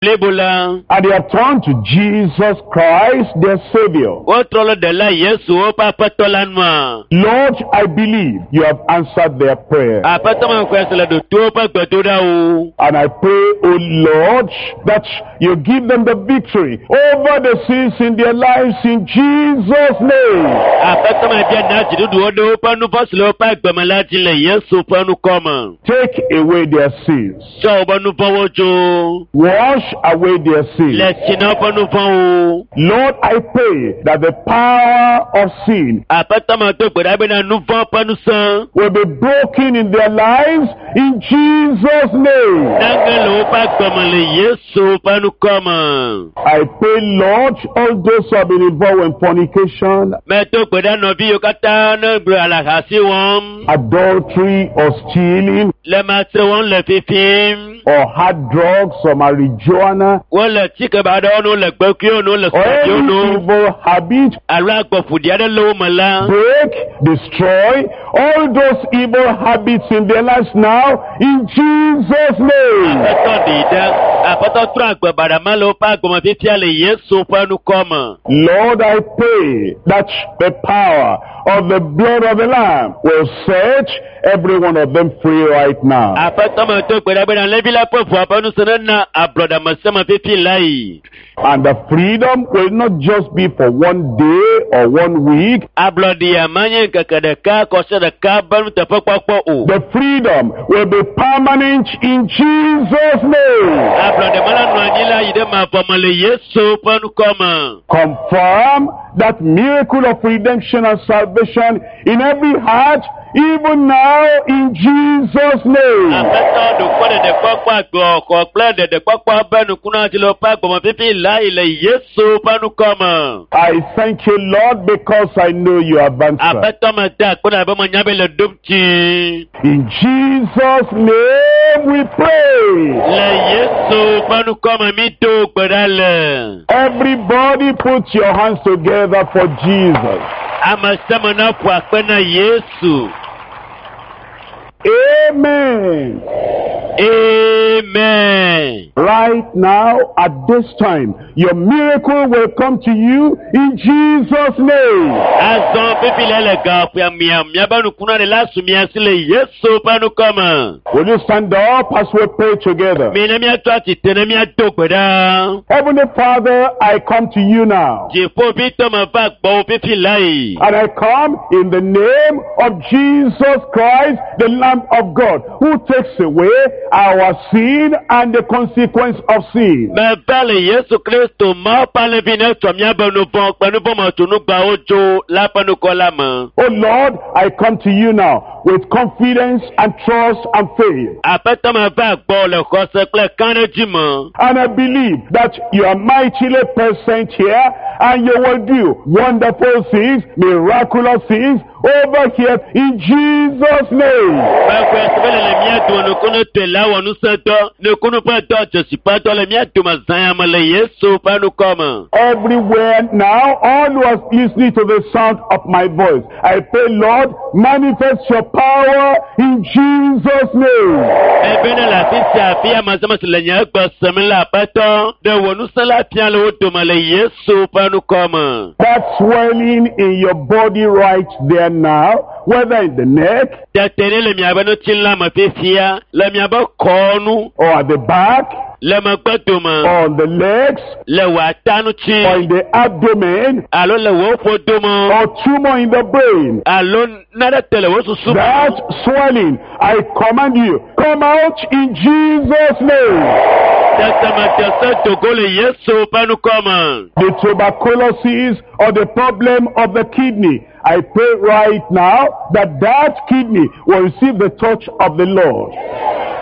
Blibo la. And they have turned to Jesus Christ, their Savior. Wotrɔ le ɖela Yesu woƒe aƒetɔ la nua. Lord, I believe you have answered their prayer. Aƒetɔ me xɔe se le ɖoto woƒe gbedoɖawo. And I pray, O Lord, that you give them the victory over the sins in their lives in Jesus' name. Aƒetɔ me bia na dziɖuɖuwo ɖe woƒe nu vɔ̃ si le woƒe agbeme la dzi le Yesu ƒe ŋkɔ me. Take away their sins. Tsɔ woƒe nu vɔ̃wo dzo. Wash away their sins. Le tsi na woƒe nu vɔ̃wo. Lord, I pray that the power of sin Aƒetɔ me do gbe ɖa bena nu vɔ̃ ƒe ŋusẽ will be broken in their lives in Jesus' name. nage le woƒe agbeme le Yesu ƒe ŋkɔ me. I pray, Lord, all those who have been involved in fornication, Medo gbe ɖa nɔvi yiwo katã ne gbe alahasi wɔm, adultery, or stealing, le matre wɔm le fifim, or hard drugs, or marijuana, wole tsike ba aɖewo no le gbekuiwo no le or sɔdziwo any no, evil habit, alo agbɔƒoɖi aɖe le wo me la, break, destroy all those evil habits in their lives now in Jesus' name. Aƒetɔ ɖee ɖa. Aƒetɔ trɔ agbe baɖa le woƒe agbeme fifia le Yesu ƒe ŋkɔ me. Lord, I pray that the power of the blood of the Lamb will set every one of them free right now. Aƒetɔ me do gbe ɖa bena Levi la ƒe ʋua ƒe ŋusẽ nena ablɔɖe fifi la yi. And the freedom will not just be for one day or one week. Ablɔɖea menye ŋkeke ɖeka kɔsiɖa ɖeka be nuteƒekpɔkpɔ o. The freedom will be permanent in Jesus' name. Ablɔɖe me la nɔ anyi la yi ɖe mavɔ me le Yesu ƒe ŋkɔ me. Confirm that miracle of redemption and salvation in every heart, even now in Jesus' name. Aƒetɔ ɖokɔ ɖeɖekpɔkpɔ agbɔxɔ kple ɖeɖekpɔkpɔ be nukuna dzi le woƒe agbɔme fifi la yi le Yesu ƒe ŋkɔ me. I thank you, Lord, because I know you have answered. Aƒetɔ me da akpe na be menya be le ɖom dzi. In Jesus' name we pray. Le Yesu ƒe ŋkɔ me mi do gbe ɖa le. Everybody put your hands together for Jesus. Ame sia ame na ƒo akpe na Yesu. Amen. Amen. Right now, at this time, your miracle will come to you in Jesus' name. Azɔ fifi le le gaƒoa mia miabe nukuna ɖe la su mia si le Yesu ƒe ŋkɔ me. Will you stand up as we pray together? Mi ne miatɔ atsitre ne miado gbe ɖa. Heavenly Father, I come to you now. Dziƒovitɔ me va gbɔwò fifi la yi. And I come in the name of Jesus Christ, the Lamb of God, who takes away our sin and the consequence of sin. Meva le Yesu Kristo Mawu ƒe alẽvi ne tsɔ miabe nu vɔ̃ kple nu vɔ̃ me tso nugbawo dzo la ƒe ŋkɔ la me. Oh Lord, I come to you now with confidence and trust and faith. Aƒetɔ me va gbɔ le xɔse kple kãɖedzi me. And I believe that you are mightily present here and you will do wonderful things, miraculous things over here in Jesus' name. Mexɔe se be le le mía dome nukunu tɔe la wɔ ŋusẽdɔ, nukunu ƒe dɔ, dzesi ƒe dɔ le mía dome zã ya me le Yesu ƒe ŋkɔ me. Everywhere now, all who are listening to the sound of my voice, I pray, Lord, manifest your power in Jesus' name. Ebe ne le afi sia afi ame sia ame si le nye gbe sem le aƒetɔ, ɖe wò ŋusẽ la fia le wo dome le Yesu ƒe ŋkɔ me. That swelling in your body right there now, whether in the neck Tete ɖe le miabe ŋutilã me fifia, le miabe kɔnu, or at the back le megbe dome, or on the legs le wò ata ŋuti, or in the abdomen alo le wò ƒodome, or tumor in the brain. alo nane te le wò susu me. That swelling, I command you, come out in Jesus' name. Tete me te se dogo le Yesu ƒe ŋkɔ me. The tuberculosis or the problem of the kidney. I pray right now that that kidney will receive the touch of the Lord.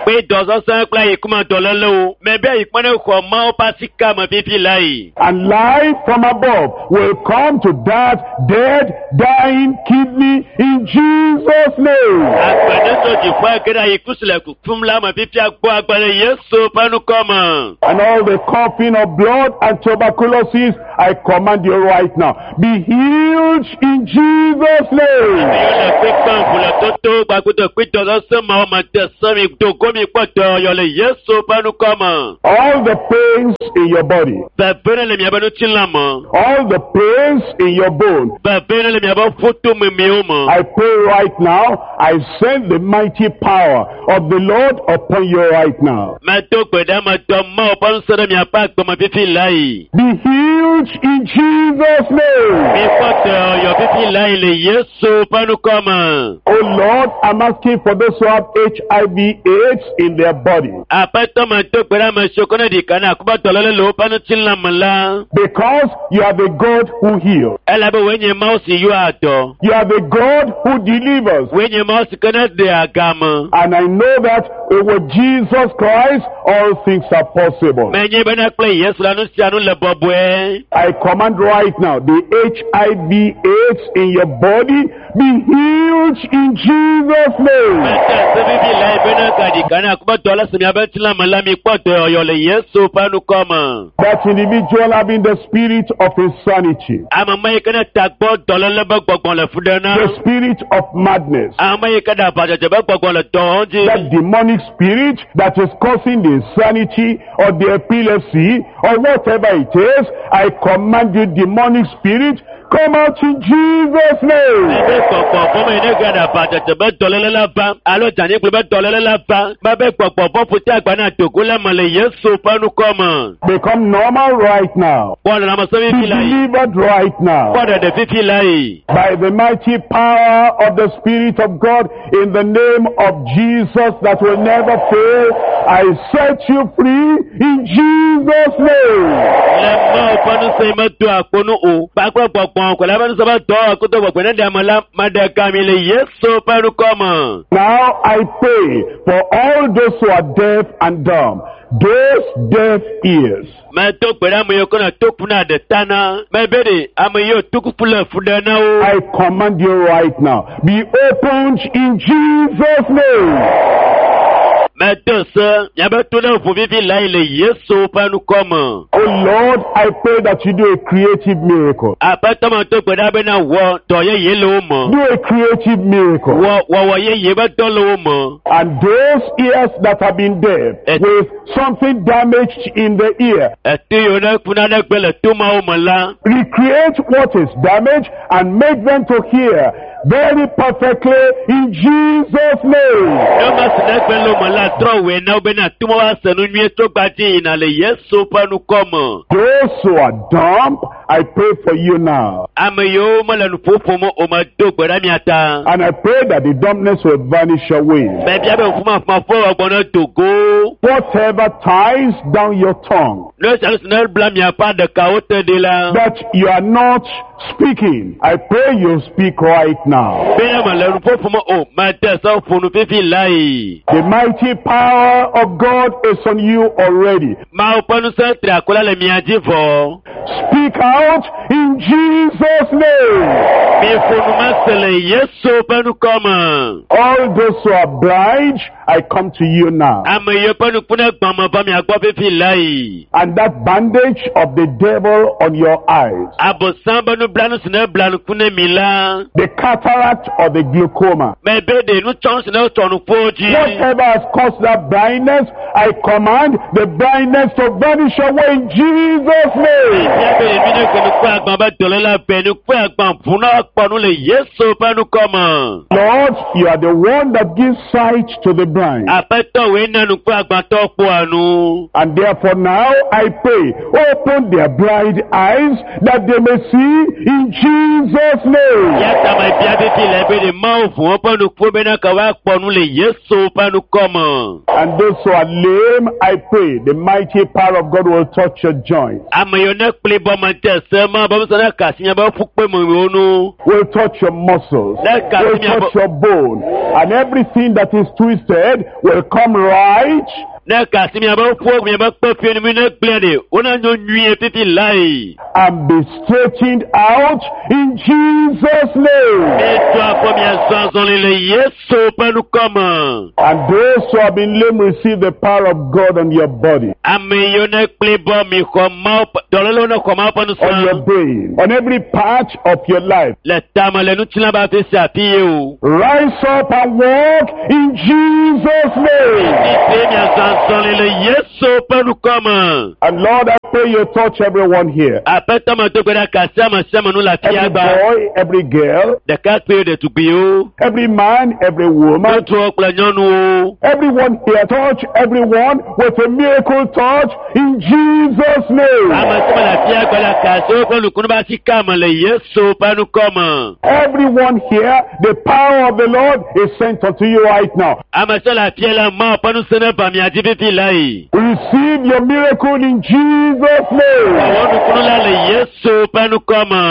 Kpe dɔsɔsɔ kple ayikuma dɔlélewo. Mebe ayikuma ne xɔ Mawu ƒe asika me fifi la yi. And life from above will come to that dead, dying kidney in Jesus' name. Agbe ne tso dziƒo age ɖe ayiku si le kukum la me fifia gbɔ agbe le Yesu ƒe ŋkɔ me. And all the coughing of blood and tuberculosis, I command you right now, be healed in Jesus' name. Ame yiwo le kpekpe ʋu le toto kpakple kpedɔdɔsẽ ma wo me de se mi dogo mi kpɔ dɔyɔyɔ le Yesu ƒe ŋkɔ me. All the pains in your body, Veve ne le miaƒe ŋutilã me. all the pains in your bone, Veve ne le miaƒe ƒutomemiwo me. I pray right now, I send the mighty power of the Lord upon you right now. Medo gbe ɖe ame dɔ Mawu ƒe ŋusẽ ɖe miaƒe agbeme fifi lae. Be healed in Jesus' name. Mikpɔ dɔyɔyɔ fifi lae le Yesu ƒe ŋkɔ me. Oh Lord, I'm asking for those who have HIV AIDS in their body. Aƒetɔ medo gbe ɖe ame siwo ke ne ɖika na akuba dɔléle le woƒe ŋutilã me la. Because you are the God who heals. Elabe wòe nye Mawu si yɔa dɔ. You are the God who delivers. Wòe nye Mawu si ke ne ɖea game. And I know that with Jesus Christ, all things are possible. Menye bena kple Yesu la nu sia nu le bɔbɔe. I command right now, the HIV AIDS in your body be healed in Jesus' name. Mete se vivi lae bena ka ɖika na akuba dɔléle si miaƒe ŋutilã me la mikpɔ dɔyɔyɔ le Yesu ƒe ŋkɔ me. That individual having the spirit of insanity, Ame ma yi ke ne tagbɔ dɔléle be gbɔgbɔ le fu ɖe na. the spirit of madness, Ame yi ke ɖe aʋadzedze be gbɔgbɔ le dɔ wɔm dzi. that demonic spirit that is causing the insanity or the epilepsy or whatever it is, I command you, demonic spirit, come out in Jesus' name. Ebe gbɔgbɔ vɔ me ne ga ɖe aʋadzedze be dɔléle la va alo dzanyigble be dɔléle la va mebe gbɔgbɔ vɔ ƒote agba na dogo le me le Yesu ƒe ŋkɔ me. Become normal right now. Kpɔ lãmesẽ Be fifi lae. delivered right now. Kpɔ ɖeɖe fifi lae. By the mighty power of the Spirit of God, in the name of Jesus that will never fail, I set you free in Jesus' name. Le Mawu ƒe ŋusẽ yi medo akpo nu o. Kpakple gbɔgbɔ kɔla ƒe ŋusẽ be dɔ koto gbɔgbɔ ne ɖe ame la meɖe gami le Yesu ƒe ŋkɔ me. Now I pray for all those who are deaf and dumb, those deaf ears. Medo gbe ɖe ame yiwo ke ne toku na ɖe ta na. Mebe ɖe ame yiwo tokuku le fu ɖe na wo. I command you right now, be opened in Jesus' name. Medo se miabe to ne ʋu vivi lae le Yesu ƒe ŋkɔ me. Oh Lord, I pray that you do a creative miracle. Aƒetɔ medo gbe ɖa bena wɔ dɔ yeye le wo me. Do a creative miracle. Wɔ wɔwɔ yeye be dɔ le wo me. And those ears that have been deaf with something damaged in the ear, Eto yiwo ne kuna ɖe gbe le to mawo me la. recreate what is damaged and make them to hear very perfectly in Jesus' name. Ne ma si ne gbe le wo me la trɔ wòe na wo bena to mawo ase nu nyuie tso gbadzi yina le Yesu ƒe ŋkɔ me. Those who are dumb, I pray for you now. Ame yiwo mele nu ƒoƒom o medo gbe ɖe mia ta. And I pray that the dumbness will vanish away. Mebia be ƒumafuma ƒe wɔgbɔ ne dogo. Whatever ties down your tongue Ne sia nu si ne bla miaƒe aɖekawo te ɖi la. that you are not speaking, I pray you speak right now. Bena mele nu ƒoƒom o mede se ƒo nu fifi lae. The mighty power of God is on you already. Mawu ƒe ŋusẽ tri akɔ la le mia dzi vɔ. Speak out in Jesus' name. Miƒo nu mase le Yesu ƒe ŋkɔ me. All those who are blind, I come to you now. Ame yiwo ƒe ŋku ne gbã me va mia gbɔ fifi lae. And that bandage of the devil on your eyes, Abosam be nublanu si ne bla ŋku ne mi la. the cataract or the glaucoma, Mebe ɖe nutsɔnu si ne tsɔ nuƒo dzi. whatever has caused that blindness, I command the blindness to vanish away in Jesus' name. Fia be ɖevi ne ke nukue agbã be dɔléle be nukue agbã ʋu na kpɔ nu le Yesu ƒe ŋkɔ me. Lord, you are the one that gives sight to the blind. Aƒetɔ wòe na nukue agbãtɔ kpɔa nu. And therefore now I pray, open their blind eyes that they may see in Jesus' name. Ya ta me bia fifi le be ɖe Mawu ʋu woƒe nukuwo bena ke woakpɔ nu le Yesu ƒe ŋkɔ me. And those who are lame, I pray, the mighty power of God will touch your joints, Ame yiwo ne kpli bɔ me de se ma be ŋusẽ ne ka asi miaƒe ƒukpe me wo nu. will touch your muscles, Let God will be your touch your bone, and everything that is twisted will come right. Ne kasi miabe ƒuwo miabe kpeƒie mi ne gblẽ ɖe wona nyo nyuie fifi lae. And be straightened out in Jesus' name. Mi to afɔ miazɔ azɔli le Yesu ƒe ŋkɔme. And those who have been lame receive the power of God on your body, Ame yiwo ne kpli bɔ mi xɔ Mawu ƒe dɔlélewo ne xɔ Mawu ƒe on your ŋusẽ. brain, on every part of your life. Le tame le ŋutilã be afi sia afi ye o. Rise up and walk in Jesus' name. Tite miazɔ azɔli le Yesu ƒe ŋkɔme. And Lord, I pray you touch everyone here. Aƒetɔ me do gbe ɖa kasi ame sia ame nu le Every afia gba. boy, every girl, Ɖekakpuiwo, ɖetugbiwo, every man, every woman, ŋutsuwo kple nyɔnuwo. everyone here, touch everyone with a miracle touch in Jesus' name. Ame sia ame le afia gba la kasi woƒe nukunu be asi ka me le Yesu ƒe ŋkɔme. Everyone here, the power of the Lord is sent unto you right now. Ame sia le afia la Mawu ƒe ŋusẽ ne va mia dzi fifi lae. Receive your miracle in Jesus' name. Wɔ nukunu la le Yesu ƒe ŋkɔme.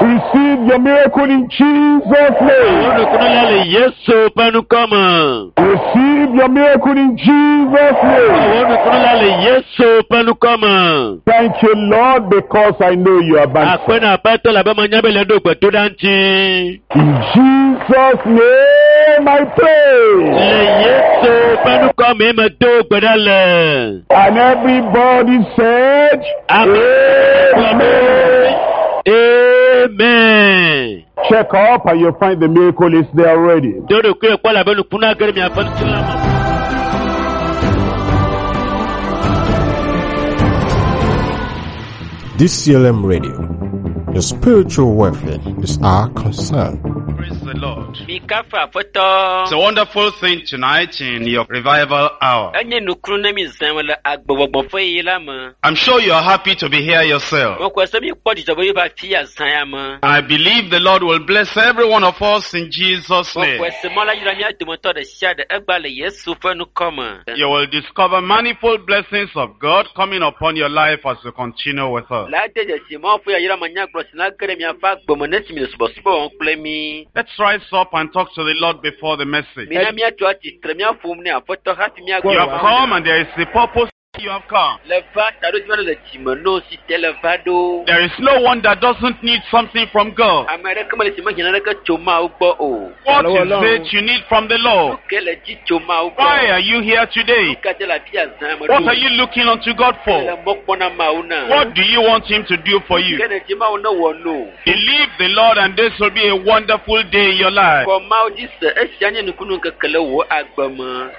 Receive your miracle in Jesus' Wɔ name. nukunu la le Yesu ƒe ŋkɔme. Receive your miracle in Jesus' name. Wɔ nukunu la le Yesu ƒe ŋkɔme. Thank you, Lord, because I know you have answered. Akpe na Aƒetɔ le abe menya be le ɖo gbedoɖa ŋuti. In Jesus' name I pray. Le Yesu ƒe ŋkɔme me do gbe ɖa le. And everybody said, Amen. Amen. Check up and you'll find the miracle is there already. Do ɖokui kpɔ le abe nukunu age ɖe miaƒe ŋutilã me. DCLM Radio. Your spiritual welfare is our concern. Praise the Lord. Mikafu aƒetɔ. It's a wonderful thing tonight in your revival hour. Enye nukunu ne mi zãm le agbegbɔgbɔ ƒe ɣeyiɣi la me. I'm sure you are happy to be here yourself. Mekɔe se mikpɔ dzidzɔ be yeva fi ya zã ya me. I believe the Lord will bless every one of us in Jesus' name. Mekɔe se Mawu la yra mía dometɔ ɖe sia ɖe egba le Yesu ƒe ŋkɔ me. You will discover manifold blessings of God coming upon your life as you continue with us. La de dzesi Mawu ƒe yayra manyagblɔ si na ge ɖe miaƒe agbe me ne si mi le subɔsubɔ wɔm kple mi. Let's rise up and talk to the Lord before the message. Mina míatso atsitre míaƒom ne aƒetɔ hafi míagbɔ. You have come and there is a purpose you have come. Le va taɖodzinu aɖe le dzime no si te le va ɖo. There is no one that doesn't need something from God. Ame aɖeke mele si mehiã naneke tso Mawu gbɔ o. What is it you need from the Lord? Nu ke le dzi tso Mawu gbɔ. Why are you here today? Nu ka te le afi ya zã me What ɖo? are you looking unto God Le for? mɔ kpɔm na Mawu na. What do you want Him to do for you? Ke ne dzi Mawu ne wɔ no. Believe the Lord and this will be a wonderful day in your life. Kɔ Mawu dzi se esia nye nukunu ŋkeke le wò agbe me.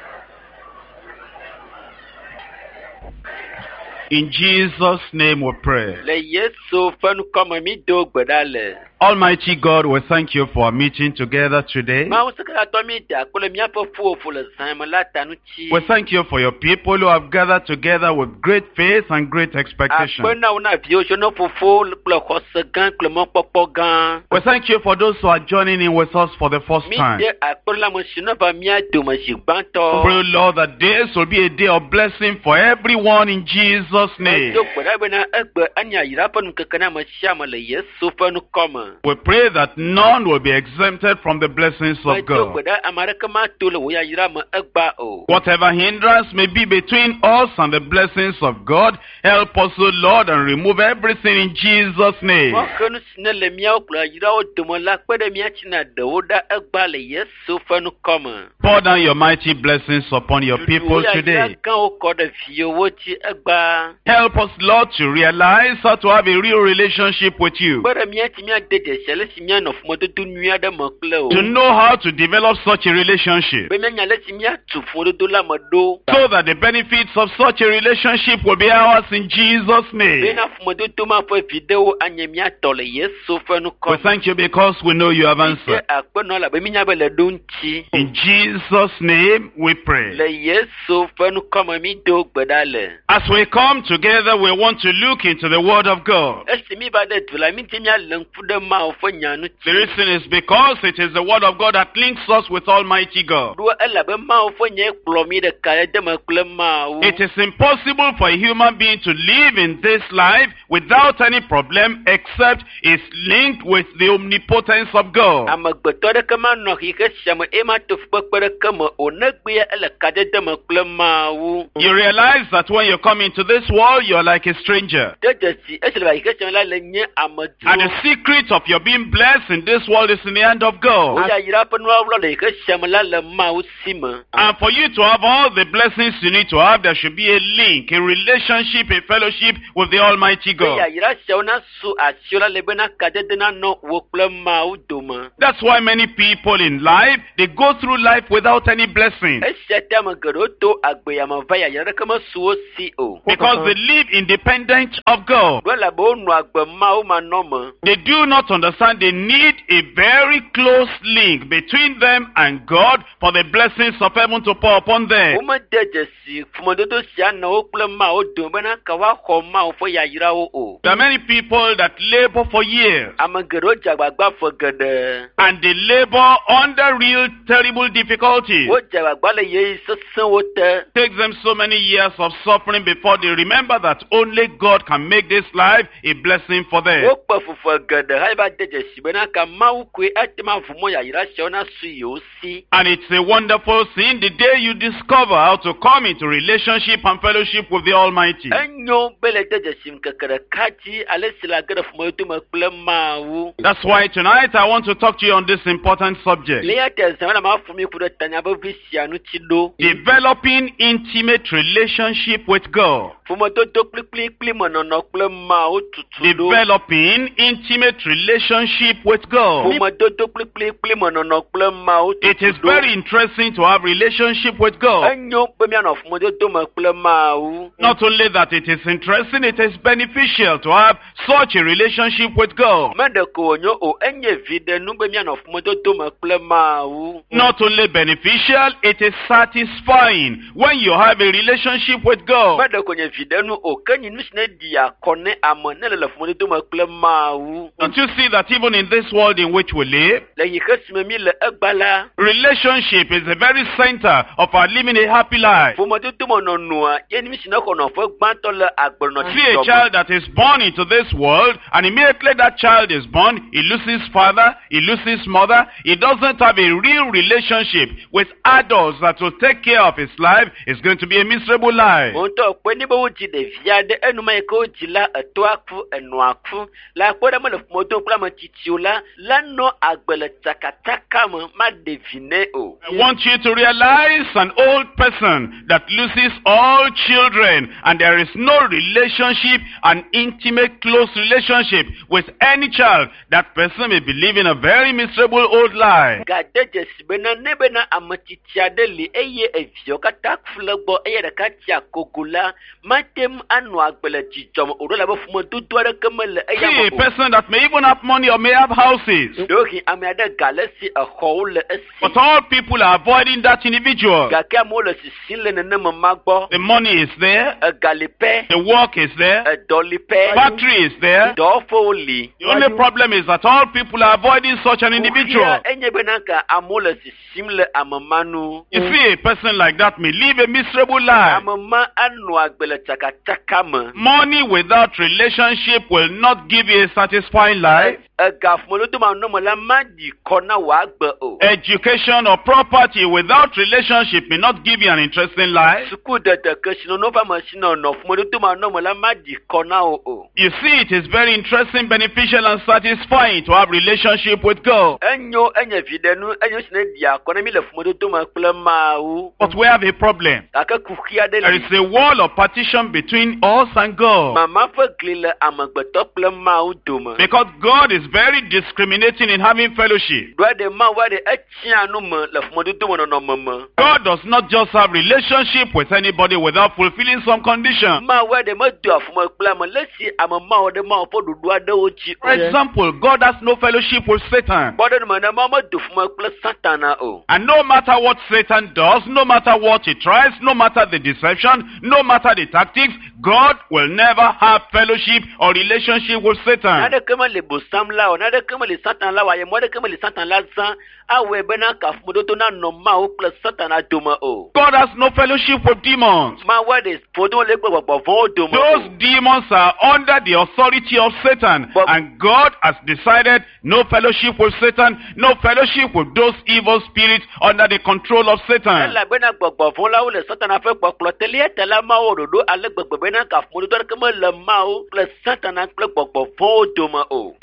In Jesus' name we pray. Le Yesu ƒe ŋkɔme mi do gbe ɖa le. Almighty God, we thank you for our meeting together today. Mawu sekatɔ mi da akpe le míaƒe ƒuƒoƒo le zã me la ta ŋuti. We thank you for your people who have gathered together with great faith and great expectation. Akpe na wo na viwo tso ne fofo kple xɔse gã kple mɔkpɔkpɔ gã. We thank you for those who are joining in with us for the first Mi time. de akpe na ame si ne va mía dome zi gbãtɔ. Pray, Lord, that this will be a day of blessing for everyone in Jesus' name. Edo gbe ɖa bena egbe anye ayra ƒe nukeke na ame sia ame le Yesu ƒe ŋkɔ me. We pray that none will be exempted from the blessings of Medo God. gbe ɖa ame aɖeke mato le wò yayra me egba o. Whatever hindrance may be between us and the blessings of God, help us, O Lord, and remove everything in Jesus' name. Mɔxenu si ne le míawo kple yayrawo dome la kpe ɖe mía tsi na ɖewo ɖa egba le Yesu ƒe ŋkɔ me. Pour down your mighty blessings upon your people Wò yayra today. gãwo kɔ ɖe viwòwo dzi egba. Help us, Lord, to realize how to have a real relationship with you. Kpe ɖe mía tsi míade dzesi ale si míanɔ ƒomedodo nyui aɖe me kple o. To know how to develop such a relationship. Be míanya ale si míatu ƒomedodo la me ɖo. So that the benefits of such a relationship will be ours in Jesus' name. Bena ƒomedodo ma ƒe viɖewo anye mía tɔ le Yesu ƒe ŋkɔ We thank you because we know you have Míde answered. akpe nɔ elabe mínya be le ɖo ŋuti. In Jesus' name we pray. Le Yesu ƒe ŋkɔ me mi do gbe ɖa le. As we come together, we want to look into the Word of God. Esi mi va ɖe du la, mi di míalé ŋku ɖe Mawu ƒe nya ŋuti. The reason is because it is the word of God that links us with Almighty God. Ɖo elabe Mawu ƒe nya kplɔ mí ɖeka ɖe deme kple Mawu. It is impossible for a human being to live in this life without any problem except it's linked with the omnipotence of God. Amegbetɔ ɖeke manɔ xixe sia me eye mato fukpekpe ɖeke me o negbea ele kadede me kple Mawu. You realize that when you come into this world, you're like a stranger. De dzesi esi le va xixe sia me la le nye And amedzro. the secret of your being blessed in this world is in the hand of God. Woyayra ƒe nuwɔwɔ le xixe sia me la le Mawu si me. And for you to have all the blessings you need to have, there should be a link, a relationship, a fellowship with the Almighty Be God. yayra siawo nasu asiwò la le bena kadede nanɔ wò kple Mawu dome. That's why many people in life, they go through life without any blessing. Esia ta ame geɖewo to agbeyame va yayra ɖeke mesu wo si o. Because they live independent of God. Ɖo elabe wonɔ agbe Mawu manɔme. They do not understand they need a very close link between them and God for the blessings of heaven to pour upon them. Womede dzesi ƒomedodo sia nɔ wo kple Mawu dome bena ka woaxɔ Mawu ƒe yayrawo o. There are many people that labor for years Ame geɖewo dze agbagba ƒe geɖe. and they labor under real terrible difficulties. Wodze agbagba le ɣeyiɣi sesẽwo te. Takes them so many years of suffering before they remember that only God can make this life a blessing for them. Wokpe fufe geɖe hafi va de dzesi bena ka Mawu koe ate ŋu aʋu mɔ yayra siawo nasu yewo si. And it's a wonderful thing the day you discover how to come into relationship and fellowship with the Almighty. Enyo be le de dzesi ŋkeke ɖeka dzi ale si le age ɖe ƒomedodo me kple Mawu. That's why tonight I want to talk to you on this important subject. Le eya ta zã la maƒo mi ku ɖe tanya vevi sia ŋuti ɖo. Developing intimate relationship with God. Ƒomedodo kplikplikpli me nɔnɔ kple Mawu tutu ɖo. Developing intimate relationship with God. Ƒomedodo kplikplikpli me nɔnɔ kple Mawu It is tutu ɖo. very interesting to have relationship with God. Enyo be míanɔ ƒomedodo me kple Mawu. Not only that it is interesting, it is beneficial to have such a relationship with God. Meɖeko wònyo o, enye viɖenu be míanɔ ƒomedodo me kple Mawu. Not only beneficial, it is satisfying when you have a relationship with God. Meɖeko nye viɖenu o, ke nye nu si ne ɖia kɔ ne ame ne le le ƒomedodo me kple Mawu. Don't you see that even in this world in which we live, Le xixe si me mi le egba la, relationship is the very center of our living a happy life. ƒomedodo me nɔnɔa ye nu si ne xɔ nɔƒe gbãtɔ le agbenɔ See a child that is born into this world, and immediately that child is born, he loses father, he loses mother, he doesn't have a real relationship with adults that will take care of his life. It's going to be a miserable life. Ŋutɔ kpe ne be wodzi ɖevi aɖe enuma yi ke wodzi la etɔa ku enɔa ku le akpɔ ɖe mele ƒomedodo kple ame tsitsiwo la la nɔ agbe le tsakatsaka me maɖe vi nɛ o. I want you to realize an old person that loses all children and there is no relationship, an intimate, close relationship with any child. That person may be living a very miserable old life. Gade dzesi bena ne bena ame tsitsi aɖe li eye eviawo katã ku le gbɔ eye ɖeka tsi akogo la mate ŋu anɔ agbe le dzidzɔ me o ɖo elabe ƒomedodo aɖeke mele eya See me a o. person that may even have money or may have houses. Ɖewohĩ ame aɖe ga le esi exɔwo le esi But all people are avoiding that individual. gake amewo le sisim le nenema ma gbɔ. The money is there, Ega li pɛ, the work is there, edɔ li pɛ, factory is there. dɔwɔƒewo li. The only problem is that all people are avoiding such an individual. Kuxia enye bena ka amewo le sisim le ame ma nu. You see, a person like that may live a miserable life. Ame ma anɔ agbe le tsakatsaka me. Money without relationship will not give you a satisfying life. Ega ƒomedodo manɔ me la maɖi kɔ na wò agbe o. Education or property without relationship may not give you an interesting life. Sukudede kesinɔnɔ ƒe amesinɔnɔ ƒomedodo manɔ me la maɖi kɔ na wò o. You see, it is very interesting, beneficial, and satisfying to have relationship with God. Enyo enye viɖenu enye nu si ne ɖia kɔ ne mi le ƒomedodo me kple Mawu. But we have a problem. Gake kuxi aɖe There li. is a wall of partition between us and God. Mama ƒe gli le amegbetɔ kple Mawu dome. Because God is very discriminating in having fellowship. Ɖoa ɖe Mawu aɖe etsia nu me le ƒomedodo me nɔnɔme me. God does not just have relationship with anybody without fulfilling some condition. Mawu aɖe medoa ƒome kple ame le esi ame mawo ɖe Mawu ƒe ɖoɖo aɖewo dzi For example, God has no fellowship with Satan. Kpɔɖeŋu me ne Mawu medo ƒome kple Satana o. And no matter what Satan does, no matter what he tries, no matter the deception, no matter the tactics, God will never have fellowship or relationship with Satan. Naneke mele bosam la o, naneke mele Satan la o, ayemɔ aɖeke mele Satan la zã awɔe bena kafumododo nanɔ Mawu kple Satana dome o. God has no fellowship with demons. Mawu aɖe ƒodo le kple gbɔgbɔ vɔ̃wo dome Those o. demons are under the authority of Satan. And God has decided no fellowship with Satan, no fellowship with those evil spirits under the control of Satan. Elabena gbɔgbɔ vɔ̃ la wole Satana ƒe kpɔkplɔ te lia ta la Mawu ɖoɖo ale gbegbe bena kafumododo aɖeke mele Mawu kple Satana kple gbɔgbɔ vɔ̃wo dome o.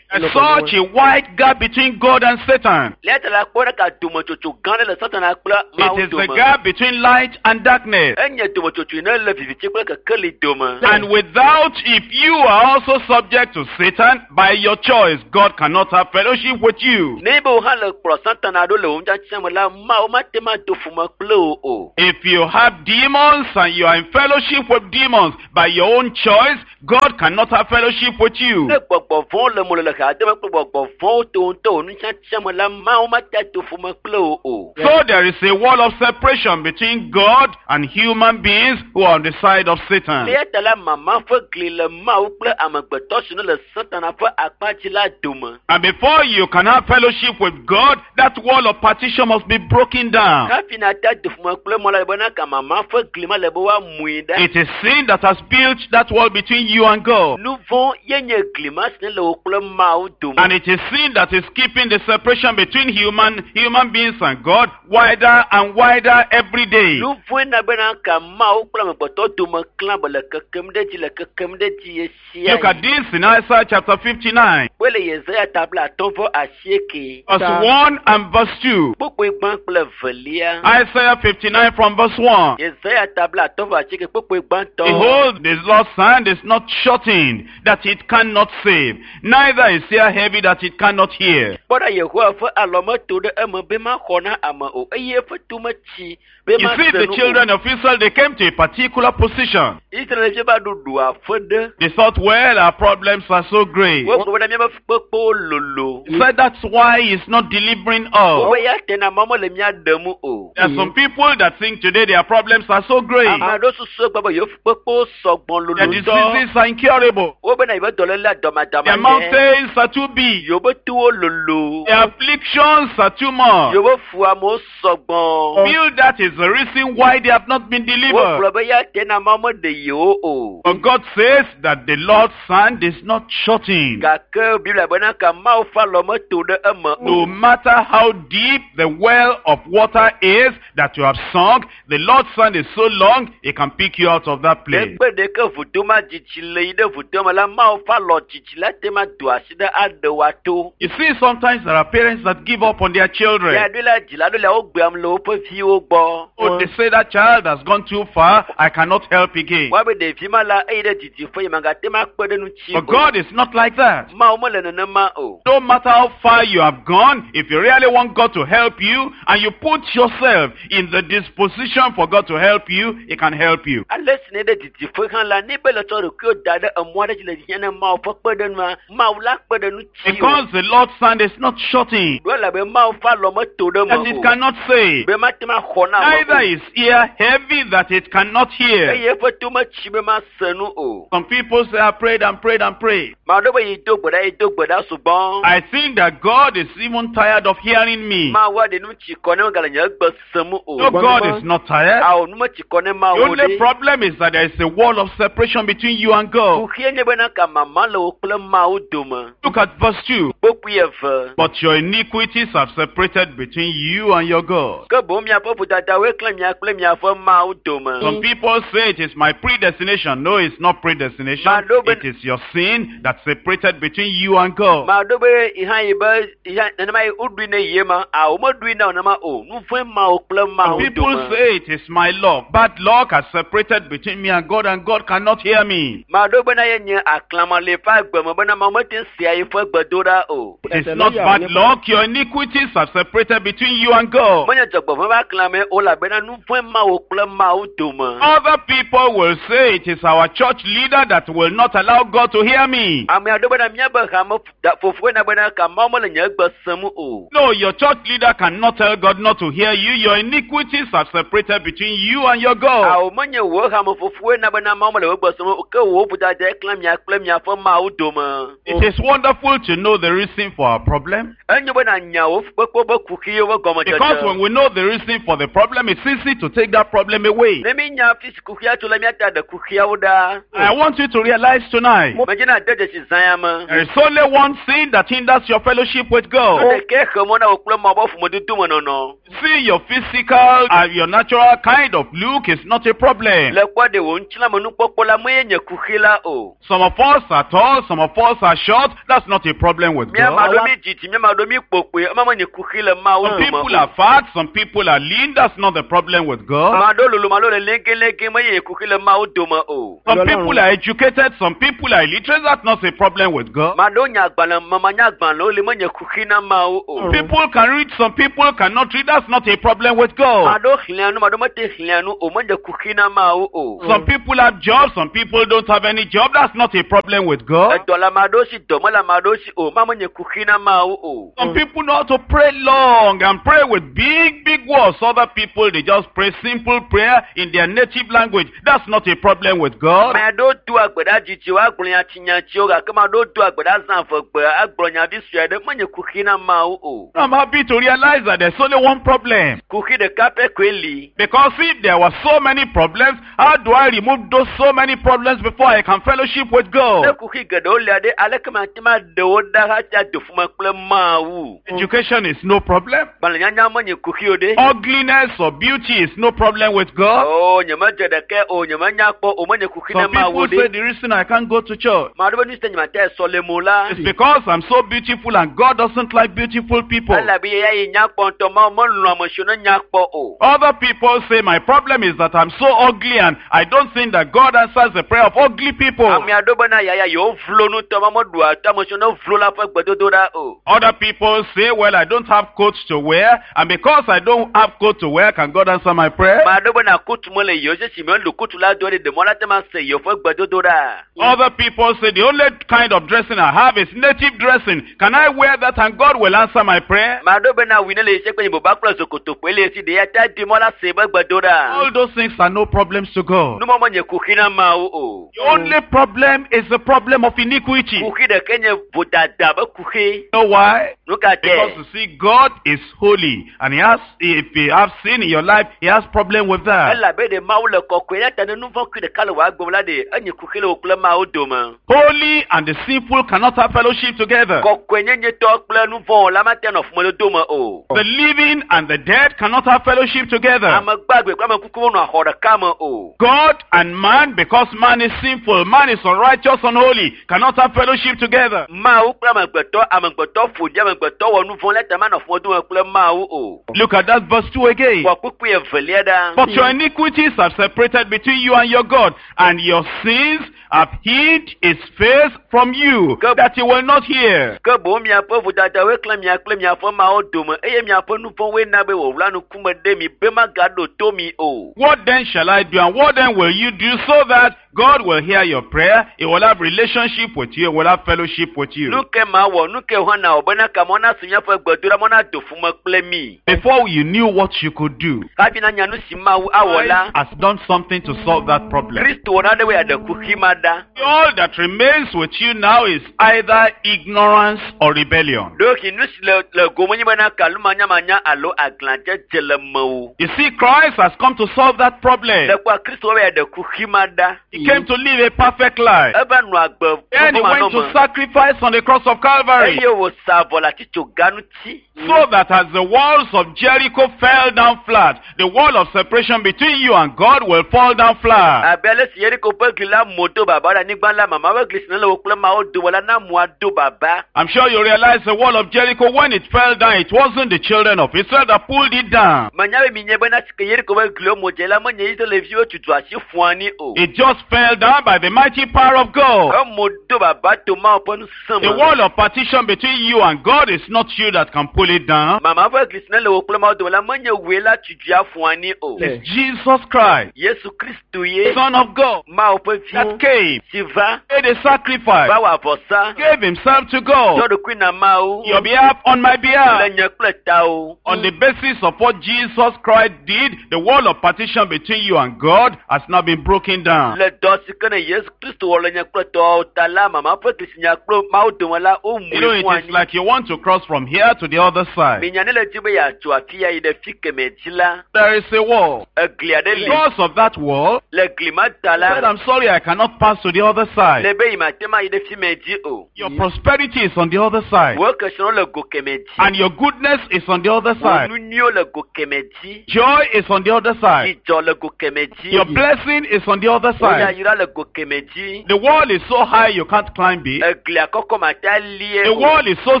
There's such a wide gap between God and Satan. Lia ta la kpɔ ɖe ka dometsotso gã ɖe le Satana kple Mawu It is the dome. gap between light and darkness. Enye dometsotso yi ne le viviti kple kekeli dome. And without, if you are also subject to Satan by your choice, God cannot have fellowship with you. Ne be wo hã le kplɔ Satana ɖo le wo ŋutiatia me la, Mawu mate ŋu ado ƒome kple wo o. If you have demons and you are in fellowship with demons by your own choice, God cannot have fellowship with you. Ne gbɔgbɔ vɔ̃wo le mo le hademe kple gbɔgbɔ vɔ̃wo to ŋutɔ wò nutiatia me la, Mawu mate ado ƒome kple wo o. So there is a wall of separation between God and human beings who are on the side of Satan. Eya ta la mama ƒe gli le Mawu kple amegbetɔ si ne le Satana ƒe akpa dzi la dome. And before you can have fellowship with God, that wall of partition must be broken down. Hafi nate ado ƒome kple Mawu la bena ka mama ƒe gli ma le be woamui ɖa. It is sin that has built that wall between you and God. Nu vɔ̃ ye nye gli ma si ne le wò kple Mawu dome. And it is sin that is keeping the separation between human beings and God wider and wider every day. Nu vɔ̃e na bena ka Mawu kple amegbetɔ dome klã be le kekem ɖe dzi le kekem ɖe dzi ɣe sia Look at ɣi. this in Isaiah chapter 59, Kpɔe le Yesaya tabla atɔ̃ vɔ asieke. verse 1 and verse 2. Kpukpui gbã kple velia. Isaiah 59 from verse 1. Yesaya tabla atɔ̃ vɔ asieke kpukpui gbãtɔ. Behold, the Lord's hand is not shortened, that it cannot save, neither is ear heavy that it cannot hear. Kpɔ ɖa Yehowa ƒe alɔ meto ɖe eme be maxɔ na ame o eye eƒe to metsi be You see, mase the nu children o. of Israel, they came to a particular position. Israelvi va ɖo ɖu aƒe ɖe. They thought, well, our problems are so great. Wogblɔ bena míaƒe fukpekpewo lolo. He said that's why he's not delivering us. Wobe ya tena Mawu mele mía ɖem o. There are some people that think today their problems are so great. Ame aɖewo susu egbe be yewo fukpekpewo sɔgbɔ lolo Their ŋutɔ. diseases are incurable. Wobena yewoƒe dɔléle Their dɔmadama mountains are too big. Yewoƒe towo lolo. Their afflictions are too much. Yewoƒe fuamewo sɔgbɔ. Feel that is the reason why they have not been delivered. Wogblɔ be ya tena Mawu meɖe yewo o. But God says that the Lord's hand is not shortened. Gake Biblia bena ka Mawu ƒe alɔ meto ɖe eme No o. matter how deep the well of water is that you have sunk, the Lord's hand is so long, He can pick you out of that place. Negbe ɖeke vudo ma dzidzi le yi ɖe vudo me la, Mawu ƒe alɔ dzidzi la te ma do asi ɖe aɖe woato. You see, sometimes there are parents that give up on their children. Ya ɖo la dzila ɖo la wogbeam le woƒe viwo gbɔ. Oh, they say that child has gone too far, I cannot help again. Woabe ɖevi ma la eyi ɖe didiƒe yi magate ma kpe ɖe ŋuti But o. God is not like that. Mawu mele nenema o. No matter how far you have gone, if you really want God to help you and you put yourself in the disposition for God to help you, He can help you. Ale si ne ɖe didiƒe hã la, ne be le tsɔ ɖokuiwo da ɖe emɔ aɖe dzi le hiã ne Mawu ƒe kpeɖeŋua, Mawu la kpe ɖe ŋuti o. Because the Lord's hand is not shortened, Ɖo elabe Mawu ƒe alɔ meto ɖe that eme it o. cannot save. Be mate ma xɔ na ame Neither o. is ear heavy that it cannot hear. Eye eƒe to metsi be mase nu o. Some people say, I prayed and prayed and prayed. Ame aɖewo be yi do gbe ɖa, yi do gbe ɖa sugbɔ. I think that God is even tired of hearing me. Mawu aɖe nu tsi kɔ ne megale nye gbe sem o. No, God is not tired. Awo nu metsi kɔ ne The Mawu only ɖe. problem is that there is a wall of separation between you and God. Kuxie nye bena ka mama le wo kple Mawu dome. Look at verse 2. Kpokpui eve. But your iniquities have separated between you and your God. Ke boŋ miaƒe vodadawoe klẽ mia kple miaƒe Mawu dome. Some people say it is my predestination. No, it's not predestination. It is your sin that separated between you and God. Ma ɖo be ihã yi be ihã nenema yi woɖui ne yie ma, awo meɖui na wo nenema o. Nu vɔ̃e ma wo kple Some Mawu people dome. say it is my luck. Bad luck has separated between me and God, and God cannot hear me. Ma ɖo bena ye nye aklama le eƒe agbe me bena Mawu mete ŋu sea via yi ƒe gbedoɖa o. It's not bad luck. Your iniquities have separated between you and God. Menye dzɔgbevɔ̃e ƒe aklame o elabena nu vɔ̃e ma wò kple Mawu dome. Other people will say it is our church leader that will not allow God to hear me. Ame aɖewo bena míabe hame fofoe na bena ka Mawu mele nye gbe sem o. No, your church leader cannot tell God not to hear you. Your iniquities have separated between you and your God. Awo menye wò hame fofoe na bena Mawu mele wò gbe sem o ke wò vodadae klã mia kple miaƒe Mawu dome. It is wonderful to know the reason for our problem. Enyo bena nya wò fukpekpe be kuxiwo be Because when gɔmedzedze. we know the reason for the problem, it's easy to take that problem away. Ne mi nya fi si kuxia tso la míata ɖe kuxiawo ɖa. I want you to realize tonight Medze na de dzesi zã ya me. there is only one sin that hinders your fellowship with Nu God. ɖekae xe mɔ na wò kple Mawu be ƒomedodo me nɔnɔ. See, your physical and your natural kind of look is not a problem. Le kpɔ ɖe wò ŋutilãmenukpɔkpɔ la menye nye kuxi la o. Some of us are tall, some of us are short. That's not a problem with Míame God. aɖewo mi didi, míame aɖewo mi kpokpoe, ema menye kuxi le Mawu Some dome people o. are fat, some people are lean. That's not the problem with God. Ame aɖewo lolo, ame aɖewo le légelégé, menye nye kuxi le Mawu dome o. Some people are educated, some people are illiterate. That's not a problem with God. Ame aɖewo nya agbalẽ, mamanya agbalẽwo li, menye kuxi na Mawu o. People can read, some people cannot read. That's not a problem with Ame God. aɖewo xlẽa nu, ame aɖewo mete xlẽa nu o, menye kuxi na Mawu o. Some people have jobs, some people don't have any job. That's not a problem with God. Edɔ le ame aɖewo si, dɔ mele ame aɖewo si o, ma menye kuxi na Mawu o. Some people know how to pray long and pray with big, big words. Other people, they just pray simple prayer in their native language. That's not a problem with God. Ame aɖewo doa gbe ɖa dzidziwo agblɔ nyatinyatsiwo gake ame aɖewo doa gbe ɖa zã eve gbe agblɔ nya vi sue aɖe menye kuxi na Mawu o. I'm happy to realize that there's only one problem. Kuxi ɖeka pɛ koe li. Because if there were so many problems, how do I remove those so many problems before I can fellowship with Ne God? kuxi geɖewo lia ɖe aleke mate ma ɖe wo ɖa hafi ado ƒome kple Mawu. Education is no problem. Gbalẽnyanya menye kuxi o ɖe. Ugliness or beauty is no problem with God. O nyemedze ɖeke o nyemenya kpɔ o menye kuxi na Some Mawu people say ɖe. the reason I can't go to church Ame aɖewo be nu si ta nyemate sɔleme o la. is because I'm so beautiful and God doesn't like beautiful people. Elabe ya yi nya kpɔ ŋutɔ Mawu melɔ̃ ame siwo ne nya kpɔ o. Other people say my problem is that I'm so ugly and I don't think that God answers the prayer of ugly people. Ame aɖewo bena yaya yewo vlo ŋutɔ Mawu meɖua to ame siwo ne vlo la ƒe gbedodoɖa o. Other people say, well, I don't have coats to wear, and because I don't have coat to wear, can God answer my prayer? Ame aɖewo bena kutu mele yewo si si melu kutu la do ɖe ɖemɔ la te ma se yewo ƒe gbedodoɖa. Other people say the only kind of dressing I have is native dressing. Can I wear that and God will answer my prayer? Ame aɖewo bena awu ne le yi se kple boba kple zokotoƒoe le yi si ɖe ya ta di mɔ la se be gbedoɖa. All those things are no problems to God. Numɔ menye kuxi na Mawu o. The only problem is the problem of iniquity. You Kuxi ɖeke nye vodada be kuxi. know why? Nu ka Because tɛ? you see, God is holy, and He has, if you have sin in your life, He has problem with that. Elabe ɖe Mawu le kɔkɔe ya ta ne nu vɔ̃ kui ɖeka le wò agbe me la ɖe enye kuxi le wò kple Mawu dome. Holy and the sinful cannot have fellowship together. Kɔkɔenyenyetɔ kple nu vɔ̃ la mate nɔ ƒomedodo me o. The living and the dead cannot have fellowship together. Ame gbagbe kple ame kuku wonɔ xɔ ɖeka me o. God and man, because man is sinful, man is unrighteous, unholy, cannot have fellowship together. Mawu kple amegbetɔ, amegbetɔ ƒo ɖi amegbetɔ wɔ nu vɔ̃ la ta manɔ ƒomedodo me kple Mawu o. Look at that verse 2 again. Wɔ kpukpui evelia ɖa. But your iniquities have separated between you and your God, and your sins have hid his face from you, that he will not hear. Ke boŋ miaƒe vodadawoe klã mia kple miaƒe Mawu dome eye miaƒe nu vɔ̃woe na be wòwla ŋkume ɖe mi be magaɖo to mi o. What then shall I do, and what then will you do so that God will hear your prayer, he will have relationship with you, he will have fellowship with you. Nu ke mawɔ, nu ke hã nawɔ bena kamɔ na se míaƒe gbedoɖa mɔ na do ƒome kple mi. Before you knew what you could do, Hafi nanya nu si Mawu awɔ la, Christ has done something to solve that problem. Kristo wɔ nane be yeaɖe kuxi ma ɖa. All that remains with you now is either ignorance or rebellion. Ɖewohĩ nu si le le gome nye bena kalumanyamanya alo aglãdzedze le mewò. You see, Christ has come to solve that problem. Le kpɔa Kristo wɔ be yeaɖe kuxi ma ɖa. He came to live a perfect life. Eva nɔ agbe Then he went to vɔvɔ̃manɔme. sacrifice on the cross of Calvary. Eye wòsa avɔ le atitsoga ŋuti. So that as the walls of Jericho fell down flat, the wall of separation between you and God will fall down flat. Abe ale si Yeriko ƒe gli la mo do baba ɖe anyigba la, mama ƒe gli si ne le wò kple Mawu dome la na mua do baba. I'm sure you realize the wall of Jericho, when it fell down, it wasn't the children of Israel that pulled it down. Menya be mi nye bena si ke Yeriko ƒe gliwo mo dze la, menye Israelviwo tutu asi ƒu anyi o. It just fell down by the mighty power of God. Emo do baba to Mawu ƒe ŋusẽ The me. wall of partition between you and God is not you that can pull it down. Mama ƒe gli si ne le wò kple Mawu dome la menye wòe la tutu afɔ anyi o. It's Jesus Christ, Yesu Kristu ye Son of God, Mawu ƒe vi that came, si va made a sacrifice, va wɔ avɔsa gave himself to God, tsɔ ɖokui na Mawu your behalf on my le behalf. nye kple tawo. On the basis of what Jesus Christ did, the wall of partition between you and God has now been broken down. Le dɔ si ke ne Yesu Kristu wɔ le nye kple tɔwo ta la mama ƒe gli si nya kple Mawu dome la womu You know, fún it is anyi. like you want to cross from here to the other side. Minya ne le dzi be yeatso afi ya yi ɖe fi kemɛ dzi la There is a wall. egli aɖe li. Because of that wall, Le gli ma ta I said, la I'm sorry, I cannot pass to the other side. le be yi ma te ma yi ɖe fi mɛ dzi o. Your prosperity is on the other side. Wo kesinɔwo le go kemɛ dzi. And your goodness is on the other Wo side. nu nyuiwo le go kemɛ dzi. Joy is on the other side. Dzidzɔ le go kemɛ dzi. Your blessing is on the other Wo side. yayra le go kemɛ dzi. The wall is so high you can't climb it. Eglia kɔkɔ ma te alie The o. wall is so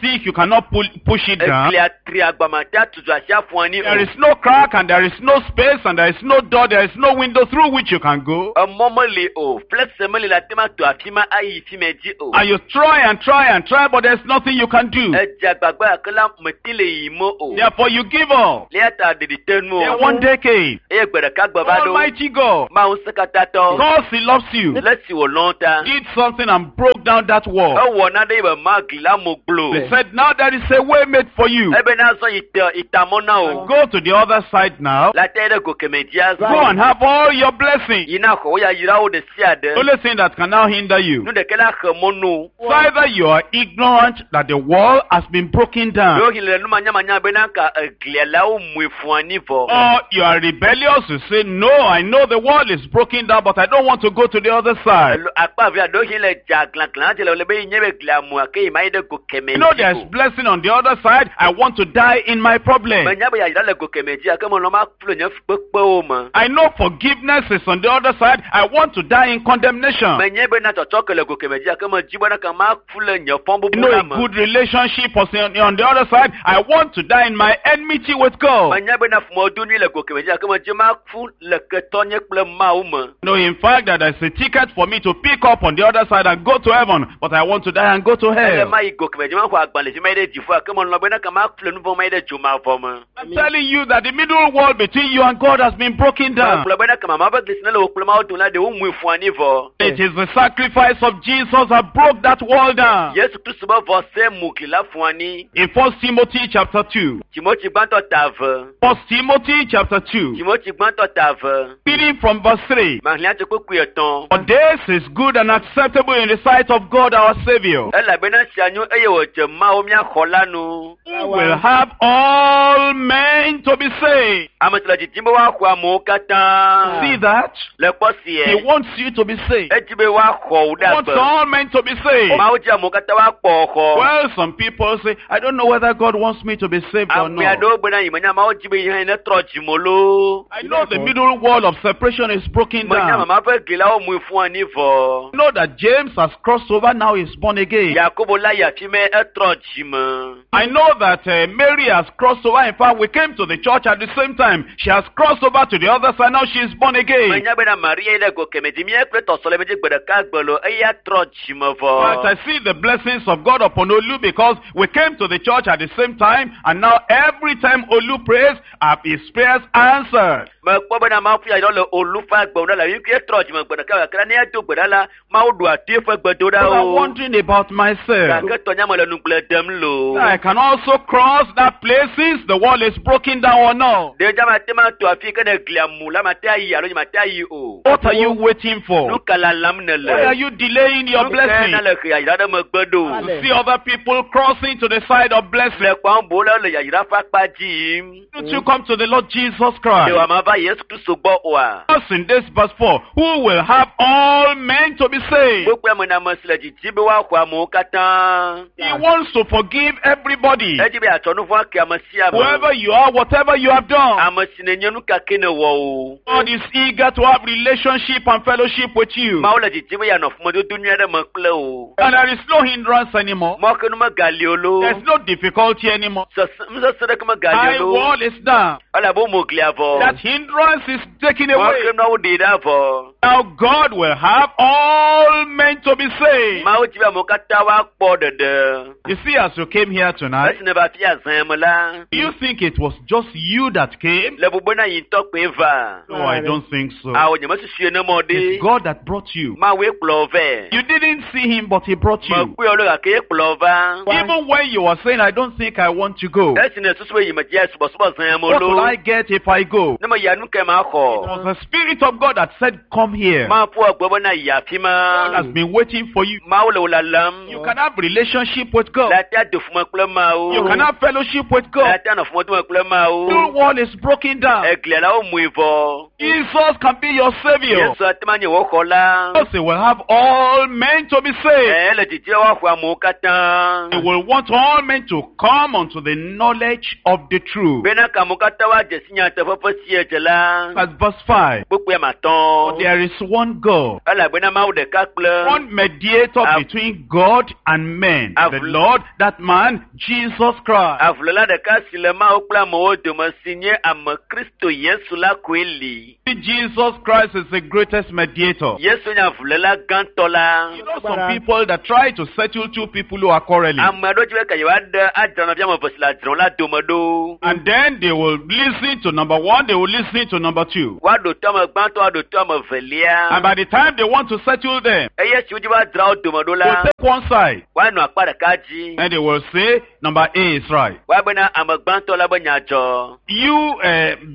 thick you cannot pull, push it down. Eglia tri agba ma te atutu asi afɔ anyi There o. is no crack and there is no space and there is no door, there is no window through which you can go. Emɔ meli o. Flɛsɛ meli la te ma to afi ma ayi fi mɛ dzi o. And you try and try and try, but there's nothing you can do. Edze agbagba gake la meti le yi me o. Therefore, you give up. Le ya ta ɖeɖi te nu Then o. one day came, Eye gbe ɖeka gbe va ɖo. Almighty God, Mawu ŋusẽkatãtɔ. because He loves you, Le si wòlɔ̃ ta. did something and broke down that wall. Ewɔ nane yi be ma gli la mo glo. He said, Now there is a way made for you. Ebe na zɔ yi te itamɔ na o. Go to the other side now. La te ɖe go kemɛ dzia Go and have all your blessings. Yi na xɔ wo yayrawo ɖe sia The ɖe. only thing that can now hinder you. Nu ɖeke la xe mɔ nu. It's either you are ignorant that the wall has been broken down, Ɖewohĩ le numanyamanya bena ka eglia la wo mue fún anyi vɔ. or you are rebellious to say, No, I know the wall is broken down, but I don't want to go to the other side. Alo akpa via ɖewohĩ le dza glãglã dze le le be yi nye be glia mua ke yi ma yi ɖe go kemɛ You know dzi there's o. blessing on the other side. I want to die in my problem. Menya be yayra le go kemɛ dzi gake melɔ̃ ma ku le nye fukpekpewo me. I know forgiveness is on the other side. I want to die in condemnation. Menye bena tsɔtsɔke le go kemɛ dzi gake medzi bena ke ma ku le nye I fɔbubu know la a me. good relationship is on the other side. I want to die in my enmity with God. Menya bena ƒomedodo nyui le go kemɛ dzi gake medzi ma ku le ketɔnye kple Mawu me. No, in fact, that there's a ticket for me to pick up on the other side and go to heaven, but I want to die and go to Ele hell. ma yi go kemɛ dzi ma xɔ agbalẽ dzi ma yi ɖe dziƒo gake melɔ̃ bena ke ma ku le nu vɔ̃ ma yi ɖe dzomavɔ me. I'm telling you that the middle wall between you and God has been broken down. Megblɔ bena ke mama ƒe gli si ne le wò kple Mawu dome la ɖe womui fún anyi vɔ. It is the sacrifice of Jesus that broke that wall down. Yesu Kristu be vɔsɛ mu gli la fún anyi. In 1 Timothy chapter 2, Timothy gbãtɔ ta ve. 1 Timothy chapter 2, Timothy gbãtɔ ta ve. reading from verse 3. Mahlẽ tso kpukpui etɔ̃. For this is good and acceptable in the sight of God our Savior, Elabena sia nyo eye wòdze Mawu mía xɔ la nu. who will have all men to be saved. Ame si le didim be woaxɔ amewo katã. See that? Le kpɔ He sie. wants you to be saved. Edzi be woaxɔ wò He ɖe wants agbe. all men to be saved. Mawu dzi amewo katã woakpɔ xɔ. Well, some people say, I don't know whether God wants me to be saved or Ame not. aɖewo gbena yi menya Mawu dzi be yi hã yi ne trɔ dzime loo. I know the middle wall of separation is broken Menya down. mama ƒe gli la womui fún anyi vɔ. I know that James has crossed over, now he's born again. Yakobo la yi afi mɛ etrɔ dzime. I know that Mary has crossed over. In fact, we came to the church at the same time. She has crossed over to the other side, now she is born again. Menya bena Maria yi ɖe go kemɛ dzi mía kple tɔsɔleme dzi gbe ɖeka gbe lo eya trɔ dzime In fact, vɔ. I see the blessings of God upon Olu because we came to the church at the same time, and now every time Olu prays, his prayers are answered. Mekpɔ bena Mawu ƒe yayra le Olu ƒe agbe ŋu ɖa le ɣeyiɣi etrɔ dzime gbe ɖeka gake ne edo gbe ɖa la Mawu ɖu ati eƒe But I'm gbedoɖawo. wondering about myself. Gake tɔnya me le nugble dem loo. I can also cross that place since the wall is broken down or not. Ɖe dza mate ma to afi ke ne glia mu la mate ayi alo nye mate ayi o. What are you waiting for? Nu ka lalam ne le? Why are you delaying your Nu ka blessing? na le he yayra ɖe megbe ɖo? To see other people crossing to the side of blessing. Le kpɔm bo la le yayra ƒe akpa dzi yim. Don't you come to the Lord Jesus Ɖe Christ? wòama va Yesu Kristu gbɔ oa? Us in this verse 4, who will have all men to be saved. Gbogbo ame na ame si le didim be woaxɔ amewo katã. He wants to forgive everybody. Edzi be yeatsɔ nu vɔ̃ ake ame sia ame. Whoever you are, whatever you have done. Ame si nenye nu ka ke nèwɔ o. God is eager to have relationship and fellowship with you. Mawu le didim be yeanɔ ƒomedodo nyui aɖe me kple wò. And there is no hindrance anymore. Mɔkenu megali o loo. There's no difficulty anymore. Sese nusese ɖeke megali High o loo. wall is down. Elabe womo glia vɔ. That hindrance hindrance is taken away. Mɔxenuawo ɖe ɖa vɔ. Now God will have all men to be saved. Mawu dzi be amewo katã woakpɔ ɖeɖe. You see, as you came here tonight, Esi ne va fia zã me la, do you think it was just you that came? le bubue na yi ŋutɔ kpoe va. No, I don't think so. Awo nye mesusui ne mɔ ɖe. It's God that brought you. Mawue kplɔ vɛ. You didn't see him, but he brought you. Mekpɔe o ɖe gake ye kplɔ va. Even when you were saying, I don't think I want to go, Esi ne susu be yi me dzi subɔsubɔ zã me what will lo. I get if I go? Ne me yia nu ke ma It xɔ. was the Spirit of God that said, Come here. Mawu ƒo egbe bena yi afi God ma. has been waiting for you. Mawu le wò lalam. You can have relationship with God. Le ate ado fume kple Mawu. You can have fellowship with Le God. ate anɔ fumedome kple Mawu. The wall is broken down. Eglia la womui vɔ. Jesus can be your savior. Yesu ate ma nye wò xɔla. Because he will have all men to be saved. Ɛɛ le didi be woaxɔ amewo katã. He will want all men to come unto the knowledge of the truth. Bena ka amewo katã woadze si nyateƒe ƒe siedze la. That's verse 5. Kpukpui ame But atɔ̃. there is one God, Elabena Mawu ɖeka kple one mediator between God and men, the Lord, that man, Jesus Christ. avuléla ɖeka si le Mawu kple amewo dome si nye ame Kristo Yesu la koe li. Jesus Christ is the greatest mediator. Yesu nye avuléla gãtɔ la. You know some people that try to settle two people who are quarreling. Ame aɖewo dzi be ka yewoaɖe adzra nɔvia ame eve si le adzrɔm la dome ɖo. And then they will listen to number one, they will listen to number two. Woaɖo to ame gbãtɔ, woaɖo to ame evelia. And by the time they want to settle them, Eye si wodzi be woadzra wo dome ɖo they la, will take one side woanɔ akpa ɖeka dzi. and they will say, number A is right. Woabena ame gbãtɔ la be nya dzɔ. You,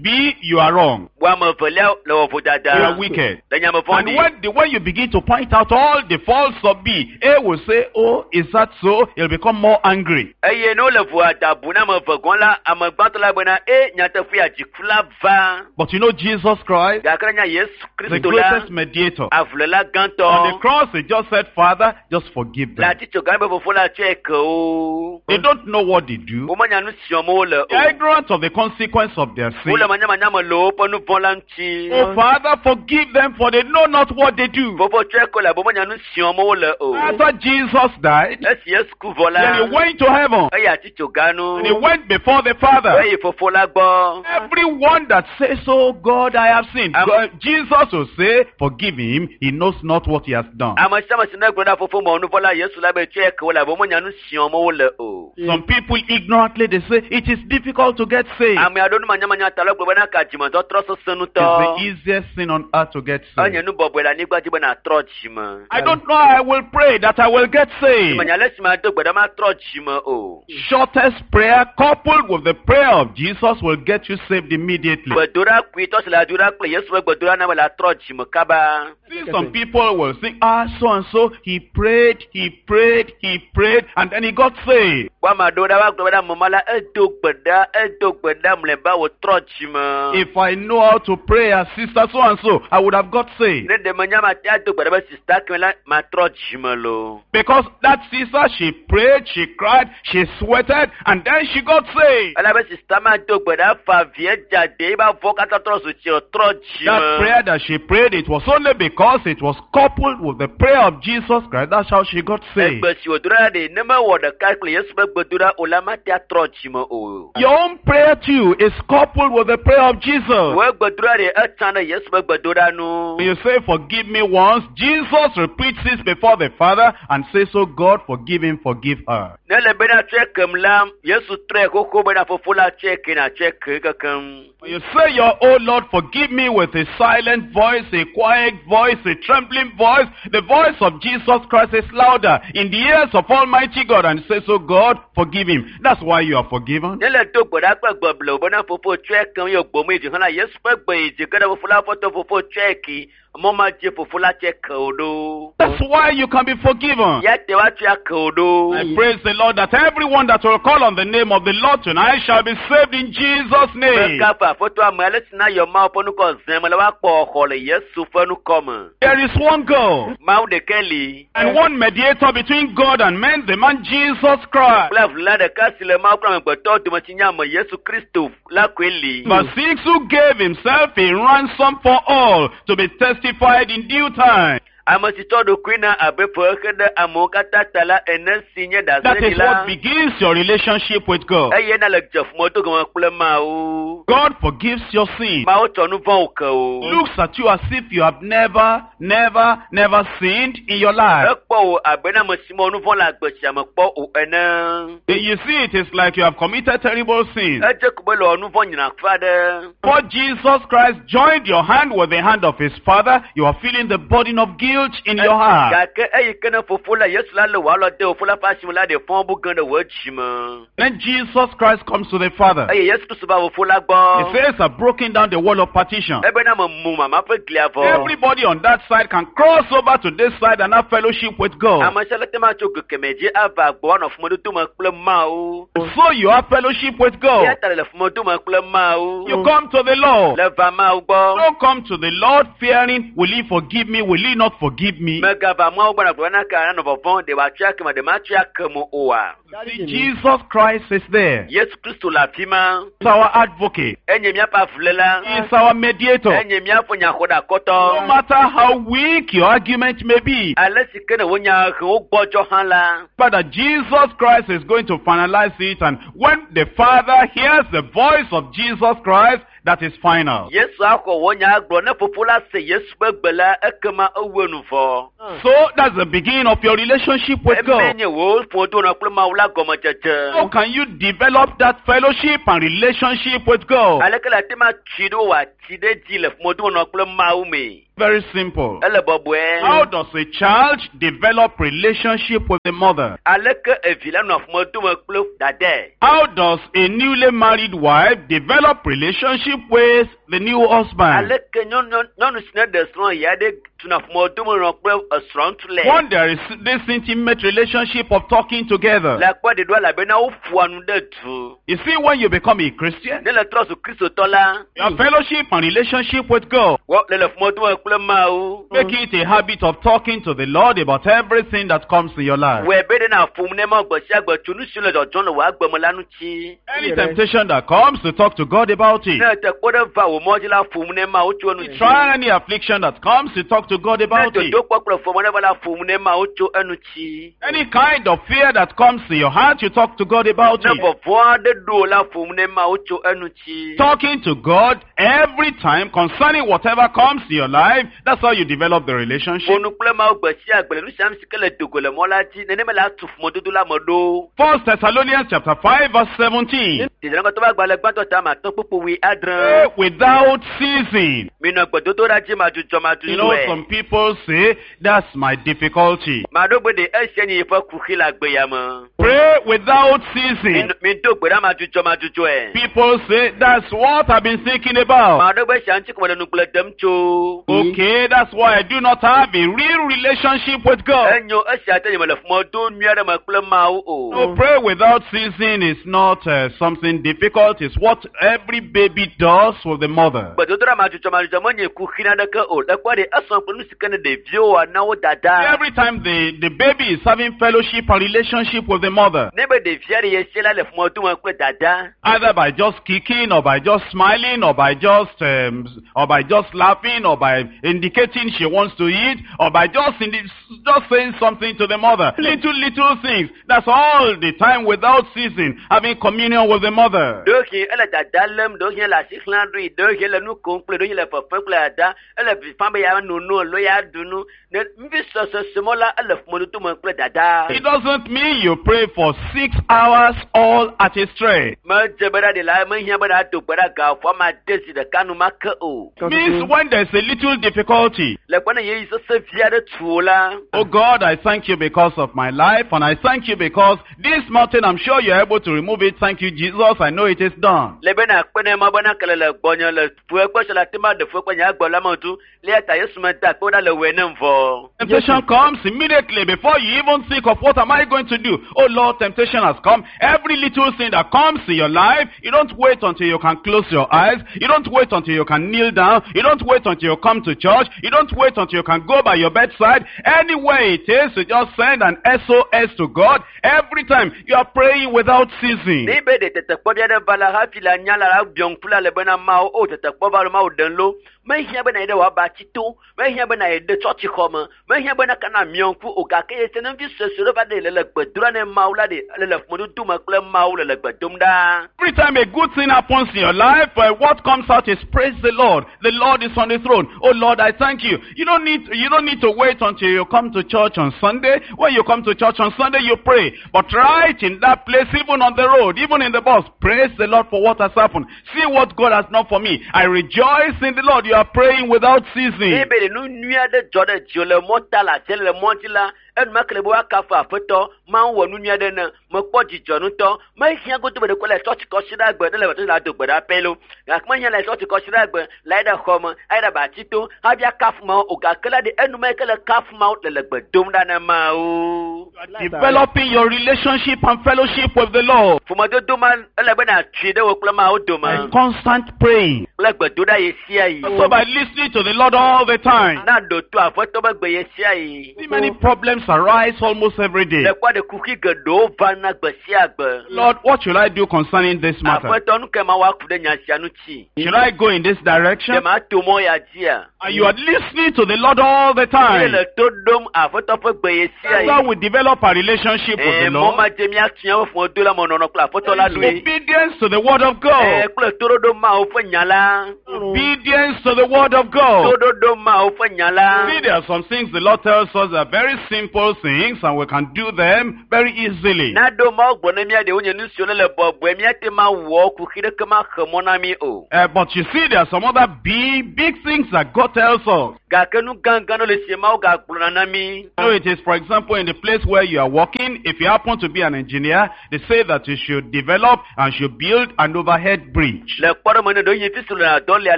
B, you are wrong. Wo ame evelia le wɔ You vodada. are wicked. Le nye ame And vɔ̃ɖi. when you begin to point out all the faults of B, A will say, oh, is that so? He'll become more angry. Eye ne wole vodada bu na ame eve gɔ̃ la, ame gbãtɔ la bena e nyateƒe ya dziku la va. But you know Jesus Christ, Gake ne nya Yesu the Kristo la, greatest mediator. avuléla On the gãtɔ. cross, he just said, Father, just forgive Le them. atitsoga be fofo la tsɔe ke wo. They don't know what they do. Womenya nu si wɔm wole They are o. ignorant of the consequence of their sin. Wole manyamanya me le woƒe nu vɔ̃ la ŋuti. Oh, Father, forgive them, for they know not what they do. Fofo tsɔe ke wo elabe womenya nu si wɔm wole o. After Jesus died, Esi Yesu ku vɔ la, then he went to heaven. eyi atitsoga nu. And he went before the Father. Eyi fofo la gbɔ. Everyone that says, Oh God, I have sinned, God, Jesus will say, Forgive him, he knows not what he has done. Ame sia ame si ne gblɔ na fofo mɔ nu vɔ̃ la, Yesu la be tsɔe ke wo elabe womenya nu si wɔm wole o. Some people ignorantly they say, It is difficult to get saved. Ame aɖewo numanyamanya ta la gblɔ bena ka dzimetɔtrɔ sesẽ It's ŋutɔ. the easiest thing on earth to get Enye saved. nu bɔbɔe le anyigba dzi be nàtrɔ dzime. I don't know, I will pray that I will get saved. Menya ale si mado gbe ɖa matrɔ dzime o. Shortest prayer coupled with the prayer of Jesus will get you saved immediately. Gbedoɖa kpuitɔ si le adoɖa kple Yesu ƒe gbedoɖa na be le atrɔ dzime kaba. See, some people will think, so and so, he prayed, he prayed, he prayed, and then he got saved. Wo ame aɖewo ɖa woagblɔ bena ame ma la edo gbe ɖa, edo gbe ɖa mlɔeba wòtrɔ dzime. If I know how to pray as sister so and so, I would have got saved. Ne ɖe menya mate ado gbe ɖa be sista keme la matrɔ dzime loo. Because that sister, she prayed, she cried, she sweated, and then she got saved. Elabe sista ma do gbe ɖa fa vie dzade eye ba vɔ katã trɔ zu tsi wòtrɔ That dzime. prayer that she prayed, it was only because it was coupled with the prayer of Jesus Christ. That's how she got saved. Egbe si wòdo ɖa ɖe ne mewɔ ɖeka kple Yesu ƒe gbedoɖa o la mate atrɔ dzime o. Your own prayer too is coupled with the prayer of Jesus. Wò gbedoɖa ɖe etsã ɖe Yesu ƒe gbedoɖa nu. When you say, forgive me once, Jesus repeats this before the Father and says, oh God, forgive him, forgive her. Ne le bena tsɔe kem la, Yesu trɔe xoxo bena fofo la tsɔe ke na tsɔe ke kekem. When you say your, oh Lord, forgive me with a silent voice, a quiet voice, a trembling voice, the voice of Jesus Christ is louder in the ears of Almighty God and says, oh God, forgive him. That's why you are forgiven. Ne le do gbe ɖa kple gbe blewu bena fofo tsɔe kem ye gbɔme yi dzi hã la, Yesu ƒe gbe yi dzi ge ɖe fofo la ƒe to fofo tsɔe ke, mɔ ma dzi fofo la tsɔe ke wo ɖo. That's why you can be forgiven. Ya te woatsɔe ake wo ɖo. I praise the Lord that everyone that will call on the name of the Lord tonight shall be saved in Jesus' name. Mekafu Aƒetɔ ame ale si na yɔ Mawu ƒe ŋkɔ zẽ me la woakpɔ xɔ le Yesu ƒe ŋkɔ me. There is one God Mawu ɖeka li. and one mediator between God and men, the man Jesus Christ. Kple avuléla ɖeka si le Mawu kple amegbetɔwo dome si nye ame Yesu Kristo la koe li. Verse 6, who gave himself a ransom for all to be testified in due time. Ame si tsɔ ɖokui na abe fexe ɖe amewo katã ta la ene si nye That is ɖaseɖila. what begins your relationship with God. Eye na le dze ƒomedodo gɔme kple Mawu. God forgives your sin. Mawu tsɔ nu vɔ̃wo ke o. Looks at you as if you have never, never, never sinned in your life. Ekpɔ wò abe na ame si mewɔ nu vɔ̃ le agbe sia me kpɔ o ene. You see, it is like you have committed terrible sins. Edze ko be le wɔ nu vɔ̃ nyina aɖe. For Jesus Christ joined your hand with the hand of his Father, you are feeling the burden of guilt in your heart. Gake eyi ke ne fofo la Yesu la le wò alɔ de fofo la ƒe asime la ɖe fɔ bu gã ɖe wò dzime. Then Jesus Christ comes to the Father. Eye Yesu Kristu va fofo la He gbɔ. says, I've broken down the wall of partition. Ebena me mu mama ƒe glia vɔ. Everybody on that side can cross over to this side and have fellowship with God. Ame sia le te ma tso go kemɛ dzi ava gbɔ anɔ ƒomedodo me kple Mawu. So you have fellowship with God. Eya ta le ƒomedodo me kple Mawu. You come to the Lord. Le va Mawu gbɔ. Don't come to the Lord fearing, will he forgive me? Will he not forgive me? Megava Mawu gbɔ na gblɔ na ka nanɔ vɔvɔ̃ ɖe wòatsɔe ake me ɖe matsɔe ake me oa. See, Jesus Christ is there. Yesu Kristu le afi ma. He's our advocate. Enye míaƒe avuléla. He is our mediator. Enye míaƒe nyaxɔɖakɔtɔ. No matter how weak your argument may be, Ale si ke ne wò nya hewo gbɔdzɔ hã la. but that Jesus Christ is going to finalize it, and when the Father hears the voice of Jesus Christ, that is final. Yesu axɔ wò nya gblɔ ne fofo la se Yesu ƒe gbe la ekema ewu enu vɔ. So that's the beginning of your relationship with Eme God. nye wò ƒomedodo kple Mawu la gɔmedzedze. How can you develop that fellowship and relationship with God? Aleke le ate ma tui ɖo wòati ɖe dzi le ƒomedodo kple Mawu me? Very simple. Ele bɔbɔe. How does a child develop relationship with the mother? Aleke evi la nɔa ƒomedodo me kple dadae? How does a newly married wife develop relationship with the new husband? Aleke nyɔnu nyɔnu si ne ɖe srɔ̃ ya ɖe tuna ƒomedodo me nɔ kple esrɔ̃ŋutsu le? One, there is this intimate relationship of talking together. Le akpɔ ɖeɖo elabena woƒoa nu ɖe du. You see, when you become a Christian, Ne le trɔ zu kristotɔ la, you have fellowship and relationship with God. wɔ le le ƒomedodo me kple Mawu. Make it a habit of talking to the Lord about everything that comes in your life. Wɔe be ɖe na ƒom ne ma gbe sia gbe tso nu siwo le dzɔdzɔm le wò agbe me la ŋuti. Any temptation that comes, to talk to God about it. Ne te kpɔ ɖe va wò mɔ dzi la ƒom ne Mawu tso enu Try any affliction that comes, to talk to God Ne about it. dodokpɔ kple fɔmɔ ɖe va la ƒom ne Mawu tso enu tsi. Any kind of fear that comes to your heart, you talk to God about Ne it. vɔvɔ̃ aɖe ɖo wò la ƒom ne Mawu tso enu tsi. Talking to God every time concerning whatever comes to your life, that's how you develop the relationship. Ƒo nu kple Mawu gbe sia gbe le nu sia nu si ke le dogo le mɔ la dzi nenema le atu ƒomedodo la me ɖo. First Thessalonians chapter 5 verse 17. Tedzraŋgɔtɔ ƒe agbalẽ gbãtɔ ta ma atɔ̃ kpukpu wui Pray adre. without ceasing. Minɔ gbedodoɖa dzi You know, madzudzɔmadzudzɔe. some people say, that's my difficulty. Maɖo gbe ɖe esia nye yeƒe kuxi le agbe ya me. Pray without ceasing. Mido gbe ɖa madzudzɔmadzudzɔe. People say, that's what I've been thinking about. Maɖo gbe sia ŋuti ko mele nugble dem tso. Okay, that's why I do not have a real relationship with God. Enyo esia te nye mele ƒomedodo nyui aɖe me kple Mawu o. No, pray without ceasing is not something difficult. It's what every baby does with the mother. Gbedodoɖa madzudzɔmadzudzɔ menye kuxi naneke o. Le kpɔ ɖe esɔ kple nu si ke ne ɖeviwo wɔa na wo dada. Every time the baby is having fellowship and relationship with the mother, Ne be ɖevia ɖe ye sie la le ƒomedodo me kple dada. either by just kicking or by just smiling or by just laughing or by indicating she wants to eat or by just saying something to the mother. Little things. That's all the time without ceasing, having communion with the mother. Ɖewohĩ ele dada lém, ɖewohĩ ele asi xlãm ɖoe, ɖewohĩ ele nu kom kple, ɖewohĩ ele fefem kple dada, ele vi fam be ya no nu alo ya ɖu nu. Ne nuvi sɔsɔsɔmɔ la ele ƒomedodo me kple dada. It doesn't mean you pray for 6 hours all at a stretch. Medze be ɖa ɖe la mehiã be ɖa do gbe ɖa gaƒoƒo ame ade zi ɖeka nu make o. It means when there's a little difficulty. Le kpɔ ne yeyi sese vi aɖe tu o la. Oh God, I thank you because of my life, and I thank you because this mountain, I'm sure you're able to remove it. Thank you, Jesus. I know it is done. Le be na akpe ne ma be na kele le gbɔnye le fuekpe se la te ma ɖe fuekpe nye agbe la me tu. Le ya ta Yesu me da akpe ɖa le wɔe ne vɔ. Temptation comes immediately before you even think of what am I going to do. Oh Lord, temptation has come. Every little thing that comes in your life, you don't wait until you can close your eyes. You don't wait until you can kneel down. You don't wait until you come to to church. You don't wait until you can go by your bedside. Anywhere it is, you just send an SOS to God. Every time you are praying without ceasing. Ne be ɖe tetekpɔ bia ɖe va la hafi le anya la la biɔ ŋku la le bena mawo o tetekpɔ va lo mawo ɖem lo mehiã bena yi ɖe wòaba tsi to mehiã bena yi ɖe tsɔtsixɔ me mehiã bena kana miɔ ŋku o gake ye se ne vi suesue ɖe va ɖe le le gbe dom ɖa ne mawu la ɖe ele le ƒomedodo me kple mawu le le gbe dom ɖa. Every time a good thing happens in your life, what comes out is praise the Lord. The Lord is on the throne. Oh Lord, I thank you. You don't need to wait until you come to church on Sunday. When you come to church on Sunday, you pray. But right in that place, even on the road, even in the bus, praise the Lord for what has happened. See what God has done for me. I rejoice in the Lord. You are praying without ceasing. Ne be ɖe nu nyui aɖe dzɔ ɖe dziwò le mɔta le atia le mɔ dzi la enumake le be woakafu aƒetɔ mawu wɔ nu nyui aɖe ne mekpɔ dzidzɔ ŋutɔ mehiã godo be ɖeko le tsɔtsi kɔsi ɖe agbe ne le tsɔtsi la do gbe ɖa pɛ lo gake mehiã le tsɔtsi kɔsi ɖe agbe la yi ɖe xɔ me ayi ɖe batsi to hafi akafu mawu o gake la ɖe enumake le kafu mawu le le gbe dom ɖa ne mawu. Developing your relationship and fellowship with the Lord. Ƒomedodo ma ele be nàtui ɖe wò kple mawu dome By constant praying. Kple gbedoɖa ɣe sia ɣi. So by listening to the Lord all the time. Na ɖo to aƒetɔ be gbe ɣe sia ɣi. See, many problems arise almost every day. Le kpɔ ɖe kuxi geɖewo vana gbe sia gbe. Lord, what should I do concerning this matter? Aƒetɔ nu ke ma woaku ɖe nya sia ŋuti. Should I go in this direction? Ɖe mato mɔ ya dzia? And you are listening to the Lord all the time. Eye le to ɖom aƒetɔ ƒe gbe ɣe sia That's ɣi. how we develop our relationship with the Mɔ Lord. ma dze míatia wo ƒomedodo la me nɔnɔ kple aƒetɔ la ɖoe. Obedience to the word of God. Kple toɖoɖo Mawu ƒe nya la. Obedience to the word of God. Toɖoɖo Mawu ƒe nya la. See, there are some things the Lord tells us are very simple things and we can do them very easily. Na ɖo Mawu gblɔ ne mía ɖe wonye nu siwo le bɔbɔe míate ma wɔ kuxi ɖeke ma xe mɔ na mí o. But you see, there are some other big, big things that God tells us. Gake nu gãgã ɖewo le sie Mawu gagblɔna na mí. So it is, for example, in the place where you are working, if you happen to be an engineer, they say that you should develop and should build an overhead bridge. Le kpɔɖeŋu ne ɖewo nye fi si le dɔ lia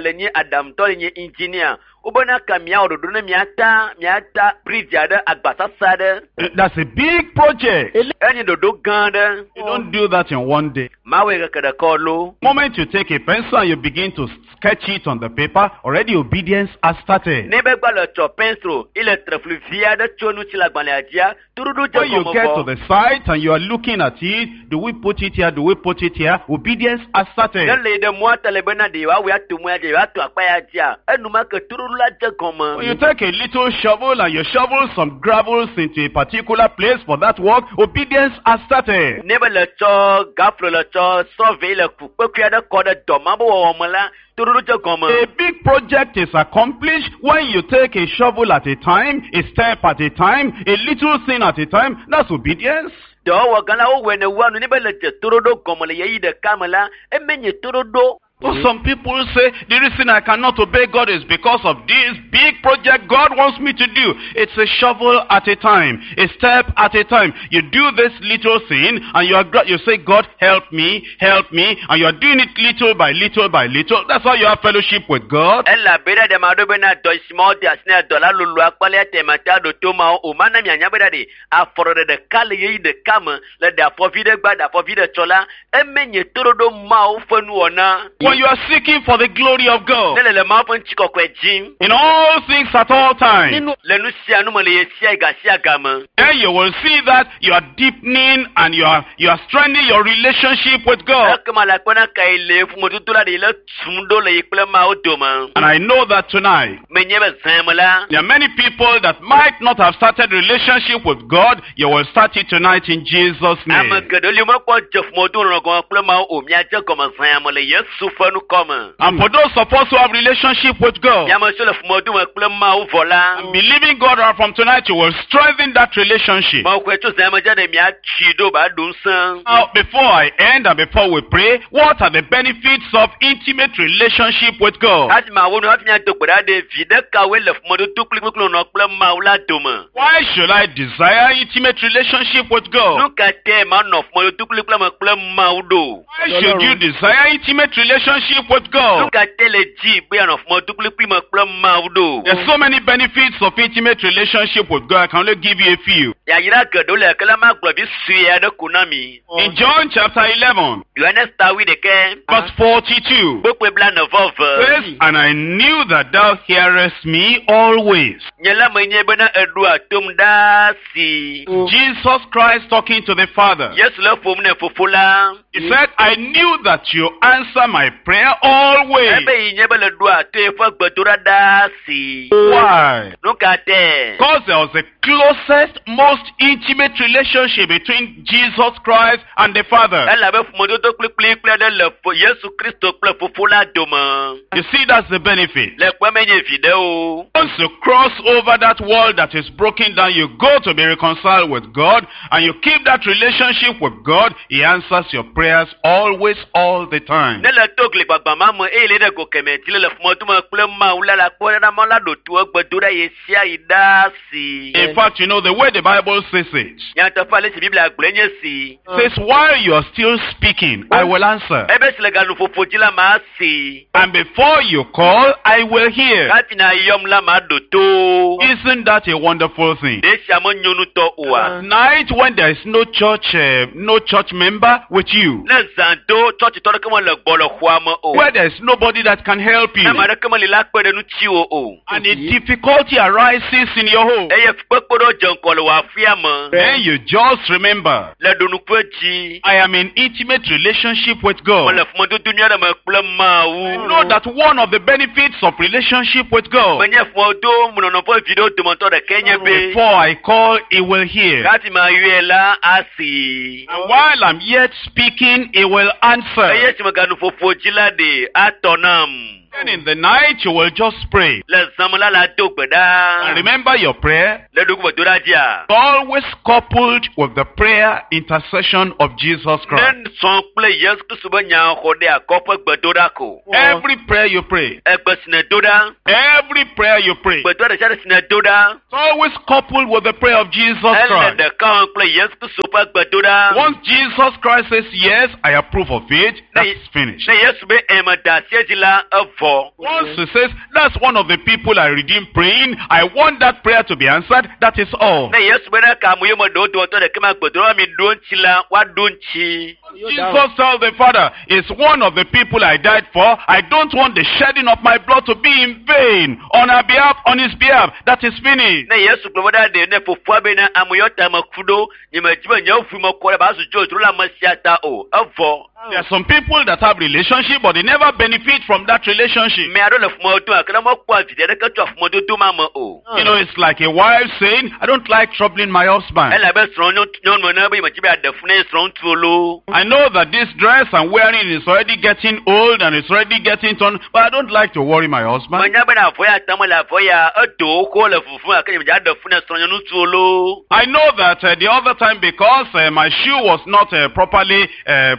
le nye aɖaŋutɔ le nye engineer. Wobena ka miawɔ ɖoɖo ne miata miata bridge aɖe agbasasa aɖe. That's a big project. Enye ɖoɖo gã aɖe. You don't do that in one day. Mawɔe keke ɖeka lo. Moment you take a pencil and you begin to sketch it on the paper, already obedience has started. Ne be gba le tsɔ pencil ile trefli vi aɖe tso nu tsi le agbalẽa dzia, toɖoɖo dze When you gɔme get to vɔ. the site and you are looking at it, do we put it here? Do we put it here? Obedience has started. Ne le yi ɖe mɔa ta le bena ɖe yewoawɔe ato mɔa dzi, yewoato akpa ya dzia, enumake toɖoɖo la dze gɔme. When you take a little shovel and you shovel some gravels into a particular place for that work, obedience has started. Ne be le tsɔ gaflo le tsɔ sɔvee le ku kpekpe aɖe kɔ ɖe dɔ ma be wɔwɔ me la, toɖoɖo dze gɔme. A big project is accomplished when you take a shovel at a time, a step at a time, a little thing at a time. That's obedience. Dɔwɔwɔ gã la wowɔe ne wua nu ne be le dze toɖoɖo gɔme le ɣeyiɣi ɖeka me la, eme nye toɖoɖo. Oh, some people say the reason I cannot obey God is because of this big project God wants me to do. It's a shovel at a time, a step at a time. You do this little thing and you are you say, God, help me, and you are doing it little by little by little. That's how you have fellowship with God. Elabe ɖe ɖe ma ɖo bena dɔ si ma wode asi na dɔ la lolo akpali ate ma te aɖo to ma wo o. Mana mianya bena ɖe afɔɖeɖe ɖeka le ɣeyiɣi ɖeka me le ɖe afɔvi ɖe gba ɖe afɔvi ɖe tsɔ la, eme nye toɖoɖo Mawu ƒe nuwɔna. When you are seeking for the glory of God Ne le le Mawu ƒe ŋutikɔkɔe dzim in all things at all times, le nu sia nu me le ɣe sia ga sia ga me. then you will see that you are deepening and you are strengthening your relationship with God. Ekema le akpɔna ka yi le ƒomedodo la ɖe le tum ɖo le yi kple Mawu dome. And I know that tonight Menye be zã me la, there are many people that might not have started relationship with God. You will start it tonight in Jesus' ame name. geɖewo li mekpɔ dze ƒomedodo nɔnɔ gɔme kple Mawu o. Miadze gɔme zã me le Yesu ƒe nukɔme. And for those of us who have relationship with God, Miame siwo le ƒomedodo me kple Mawu vɔ la, and believing God right from tonight, you will strengthen that relationship. Mawu kɔe tso zã me dze ɖe miatsi ɖo ba ɖo ŋusẽ. Now, before I end and before we pray, what are the benefits of intimate relationship with God? Hafi mawo nu hafi miado gbe ɖa ɖe vi ɖekawoe le ƒomedodo kplikplikpli nɔnɔ kple Mawu la dome. Why should I desire intimate relationship with God? Nu ka tae manɔ ƒomedodo kplikpli me kple Mawu ɖo? Why should you desire intimate relationship relationship with God? Nu ka te le dzi be yeanɔ ƒomedodo me kple Mawu ɖo? There's so many benefits of intimate relationship with God. I can only give you a few. Yayra geɖewo le ke la magblɔ vi sue aɖe ko na mi. In John chapter 11, Yohanes ta wuiɖekɛ, verse 42, kpukpui blaene-vɔ-eve. says, And I knew that thou hearest me always. Nye la menye bena eɖoa tom ɖaa si. Jesus Christ talking to the Father. Yesu le ƒom ne fofo la. He said, I knew that you answer my prayer always. Ebe yi nye be le ɖoa to eƒe gbedoɖa ɖaa si. Why? Nu ka tɛ? Because there was the closest, most intimate relationship between Jesus Christ and the Father. Elabe ƒomedodo kplikplikpli aɖe le Yesu Kristo kple fofo la dome. You see, that's the benefit. Le kpe menye vi ɖe o. Once you cross over that wall that is broken down, you go to be reconciled with God, and you keep that relationship with God, He answers your prayers always, all the time. Ne le to gli gbagbã ma me eye le ɖe go kemɛ dzi le le ƒomedodo kple Mawu la la kpɔ ɖe ma la ɖo to egbedoɖa ɣe sia ɣi ɖaa si. In fact, you know, the way the Bible says it, Nyateƒe ale si Biblia gblɔe nye si. says, while you are still speaking, I will answer. Ebe si le ganuƒoƒo dzi la ma si. And before you call, I will hear. Hafi na yɔm la ma ɖo to. Isn't that a wonderful thing? Ɖe sia menyo ŋutɔ oa? Night when there is no church, no church member with you, Ne zã do tsɔtsitɔ ɖeke mele gbɔ le xɔa me o. where there is nobody that can help you, Ne ame aɖeke meli la kpe ɖe ŋutiwò o. and a difficulty arises in your home, Eye fukpekpe ɖewo dze ŋgɔ le wò aƒea me. then you just remember, Le ɖonuƒe dzi. I am in intimate relationship with God. Mele ƒomedodo nyui aɖe me kple Mawu. I know that one of the benefits of relationship with God, Menye ƒomedodo menɔnɔ ƒe viɖewo dometɔ ɖekae nye be before I call, He will hear. hafi mayɔe la asi. And while I'm yet speaking, He will answer. Eye si meganuƒoƒo dzi la ɖe atɔ nam. Then in the night, you will just pray. Le zã me la la do gbe ɖa. And remember your prayer Le ɖokuigbedoɖa dzia. always coupled with the prayer intercession of Jesus Christ. Ne sɔn kple Yesu Kristo be nya xɔ ɖe akɔ ƒe gbedoɖa ko. Every prayer you pray, Egbe si nèdo ɖa. every prayer you pray, Gbedoɖa ɖe sia ɖe si nèdo ɖa. it's always coupled with the prayer of Jesus Ele Christ. ɖeka wɔm kple Yesu Kristo ƒe gbedoɖa. Once Jesus Christ says, yes, I approve of it, that's finished. Ne Yesu be eme da asi edzi la evɔ. Once he says, that's one of the people I redeemed praying, I want that prayer to be answered, that is all. Ne Yesu be ne ka ame yome ɖewo dometɔ ɖeke ma gbedoɖa mi ɖo ŋuti la woaɖo ŋuti. Jesus tells the Father, it's one of the people I died for. I don't want the shedding of my blood to be in vain on our behalf, on his behalf. That is finished. Ne Yesu gblɔ be ɖa ɖe ne fofoa be ne ame yɔ ta me ku ɖo nye me dzi be nye ʋu me kɔ ɖe ba zu dzodzro le ame sia ta o evɔ. There are some people that have relationship, but they never benefit from that relationship. Ame aɖewo le ƒomedodo gake ne mekpɔa viɖe aɖeke tso ƒomedodo ma me o. You know, it's like a wife saying, I don't like troubling my husband. Ele abe srɔ̃nyɔnu ene be nye me dzi be yeaɖe fu ne ye srɔ̃ŋutsuwo loo. I know that this dress I'm wearing is already getting old and it's already getting torn, but I don't like to worry my husband. Menya bena avɔ ya tam le avɔ ya edo xoxo le vuvum gake nye me dzi aɖe fu ne srɔ̃nyɔnutsuwo loo. I know that the other time because my shoe was not properly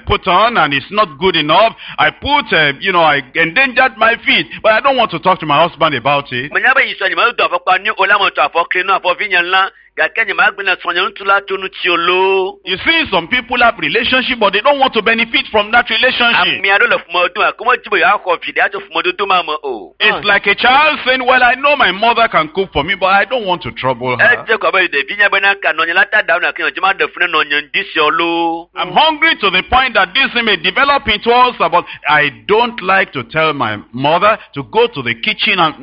put on and it's not good enough, I put, I endangered my feet, but I don't want to talk to my husband about it. Menya be yisɔ nye medo afɔkpa nyui o la metɔ afɔ kli nu afɔvi nye la gake nye magblẽ na srɔ̃nyɔnutsu la tso ŋuti o loo. You see, some people have relationship, but they don't want to benefit from that relationship. Ame aɖewo le ƒomedodo gake womedi be yewoaxɔ viɖe atso ƒomedodo ma me o. It's like a child saying, well, I know my mother can cook for me, but I don't want to trouble her. Edze kɔ abe ɖevi nya bena ka nɔnye la ta ɖam gake nye dzi maɖe fu ne nɔnye ŋdi sia loo. I'm hungry to the point that this thing may develop into ulcer, but I don't like to tell my mother to go to the kitchen and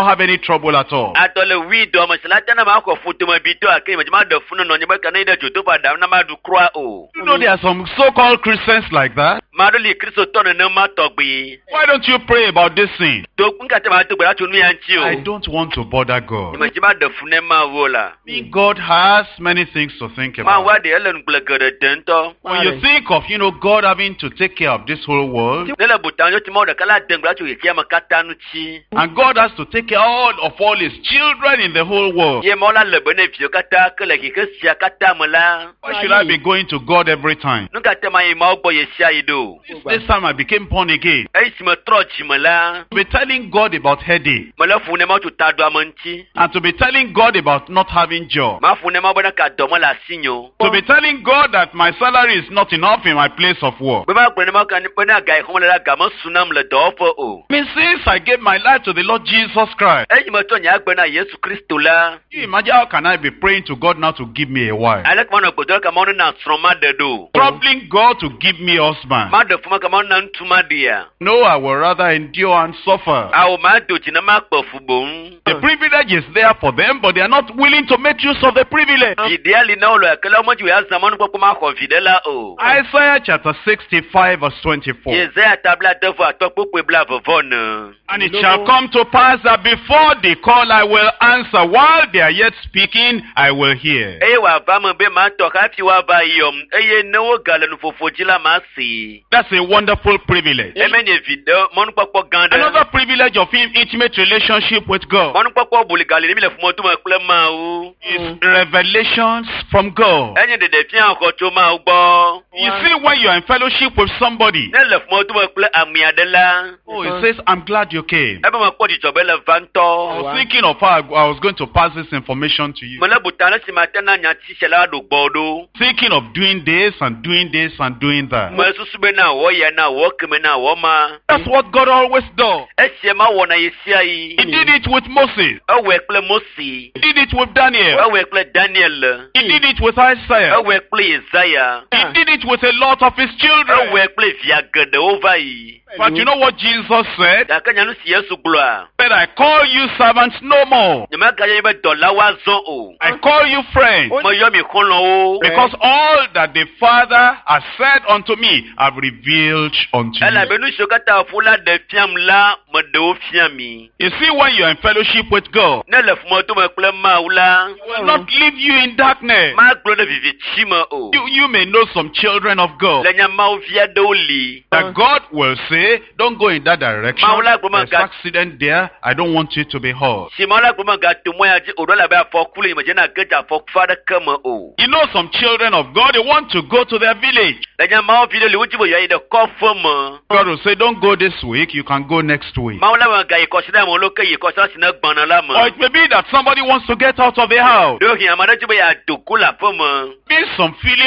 have any trouble at all. Adɔ le wui dɔme si la te na maxɔ fu tome bitɔ gake nye medzi maɖe fu ne nɔnye be ka ne yi ɖe dzodoƒe aɖam na maɖu kura o. You know, there are some so-called Christians like that. Ame aɖewo li kristotɔ nenema tɔgbi. Why don't you pray about this thing? Do ŋkate ma do gbe ɖa tso nu ya ŋuti I o. don't want to bother God. Nye medzi maɖe fu ne Mawu o la. God has many things to think Mawu about. aɖe ele ŋugble geɖe de ŋutɔ. When you think of, God having to take care of this whole world, Ne le buta ŋutɔ Mawu ɖeka la de ŋugble tso xexea me katã ŋuti. and God has to take care of all his children in the whole world. Ye Mawu la le be ne viwo katã ke le xexe sia katã me la. Why should I be going to God every time? Nu ka te ma yi Mawu gbɔ ɣe sia ɣi ɖo? ɖo. This time I became born again. Eyi si metrɔ dzime la, To be telling God about headache mele ƒo ne Mawu tso taɖoame ŋuti. and to be telling God about not having job. Maƒo ne Mawu bena ka dɔ mele asinye o. To be telling God that my salary is not enough in my place of work. Be magblɔ ne Mawu ka bena ga yi xɔm le la ga mesu nam le dɔwɔƒe o. I mean, since I gave my life to the Lord Jesus Christ, Eyi metsɔ nye agbe na Yesu Kristo la, you imagine how can I be praying to God now to give me a wife? aleke manɔ gbedɔ ka Mawu nena srɔ̃ maɖe ɖo? Troubling God to give me husband. Maɖe fu ma ka Mawu nena ŋutsu maɖea? No, I will rather endure and suffer. Awo mado dzi ne makpe fu boŋ. The privilege is there for them, but they are not willing to make use of the privilege. Viɖea li na wo le gake le womedzi wo azã mɔnukpɔkpɔ maxɔ viɖe la o. Isaiah chapter 65 verse 24. Yesaya ta 65 kpukpui 40 ne. And it shall come to pass that before they call, I will answer. While they are yet speaking, I will hear. Eye wòava me be matɔ hafi woava yɔm eye ne wogale nuƒoƒo dzi la masi. That's a wonderful privilege. Eme nye viɖe mɔnukpɔkpɔ gã ɖe. Another privilege of him, intimate relationship with God, Mɔnukpɔkpɔ buligali ne mi le ƒomedome kple Mawu. is revelations from God. Enye ɖeɖefia xɔ tso Mawu gbɔ. You see, when you are in fellowship with somebody, Ne le ƒomedome kple ame aɖe la, oh, he says, I'm glad you came. ebe mekpɔ dzidzɔ be le va I ŋutɔ. was thinking of how I was going to pass this information to you. Mele buta ne si mate na nyati sia la ɖo gbɔ ɖo. Thinking of doing this and doing this and doing that. Mesusu be na wɔ ya na wɔ keme na wɔ ma. That's what God always does. Esia ma wɔna yi sia yi. He did it with Moses. Ewɔe kple Mose. He did it with Daniel. Ewɔe kple Daniel. He did it with Isaiah. Ewɔe kple Yesaya. He did it with a lot of his children. Ewɔe kple via geɖewo va yi. But you know what Jesus said? Gake nya nu si Yesu gblɔa, Said, I call you servants no more. nyemegayɔ be dɔlawo azɔ o. I call you friends. Meyɔ mi xɔlɔ̃wo. Because all that the Father has said unto me, I've revealed unto you. Elabe nu siwo katã Fofo la ɖe fiam la, meɖe wo fia mi. You see, when you are in fellowship with God, Ne le ƒomedome kple Mawu la, He will not leave you in darkness. magblɔ ɖe viviti me o. You may know some children of God Le nya Mawu vi aɖewo li. that God will say, don't go in that direction. Mawu la gblɔ There's mega- accident there. I don't want you to be hurt. Si Mawu la gblɔ megato mɔ ya dzi o ɖo elabe afɔku le nye medze na ge dze afɔku aɖeke me o. You know some children of God, they want to go to their village. Le nya Mawu vi ɖe li wodzi be yewoayi ɖe kɔƒe me. God will say, don't go this week. You can go next week. Mawu la megayi kɔsiɖa me o lo ke yi kɔsiɖa si ne gbɔna la Or me. it may be that somebody wants to get out of the house. Ɖewohĩ ame aɖe dzi be yeado go le aƒe me. Be some feeling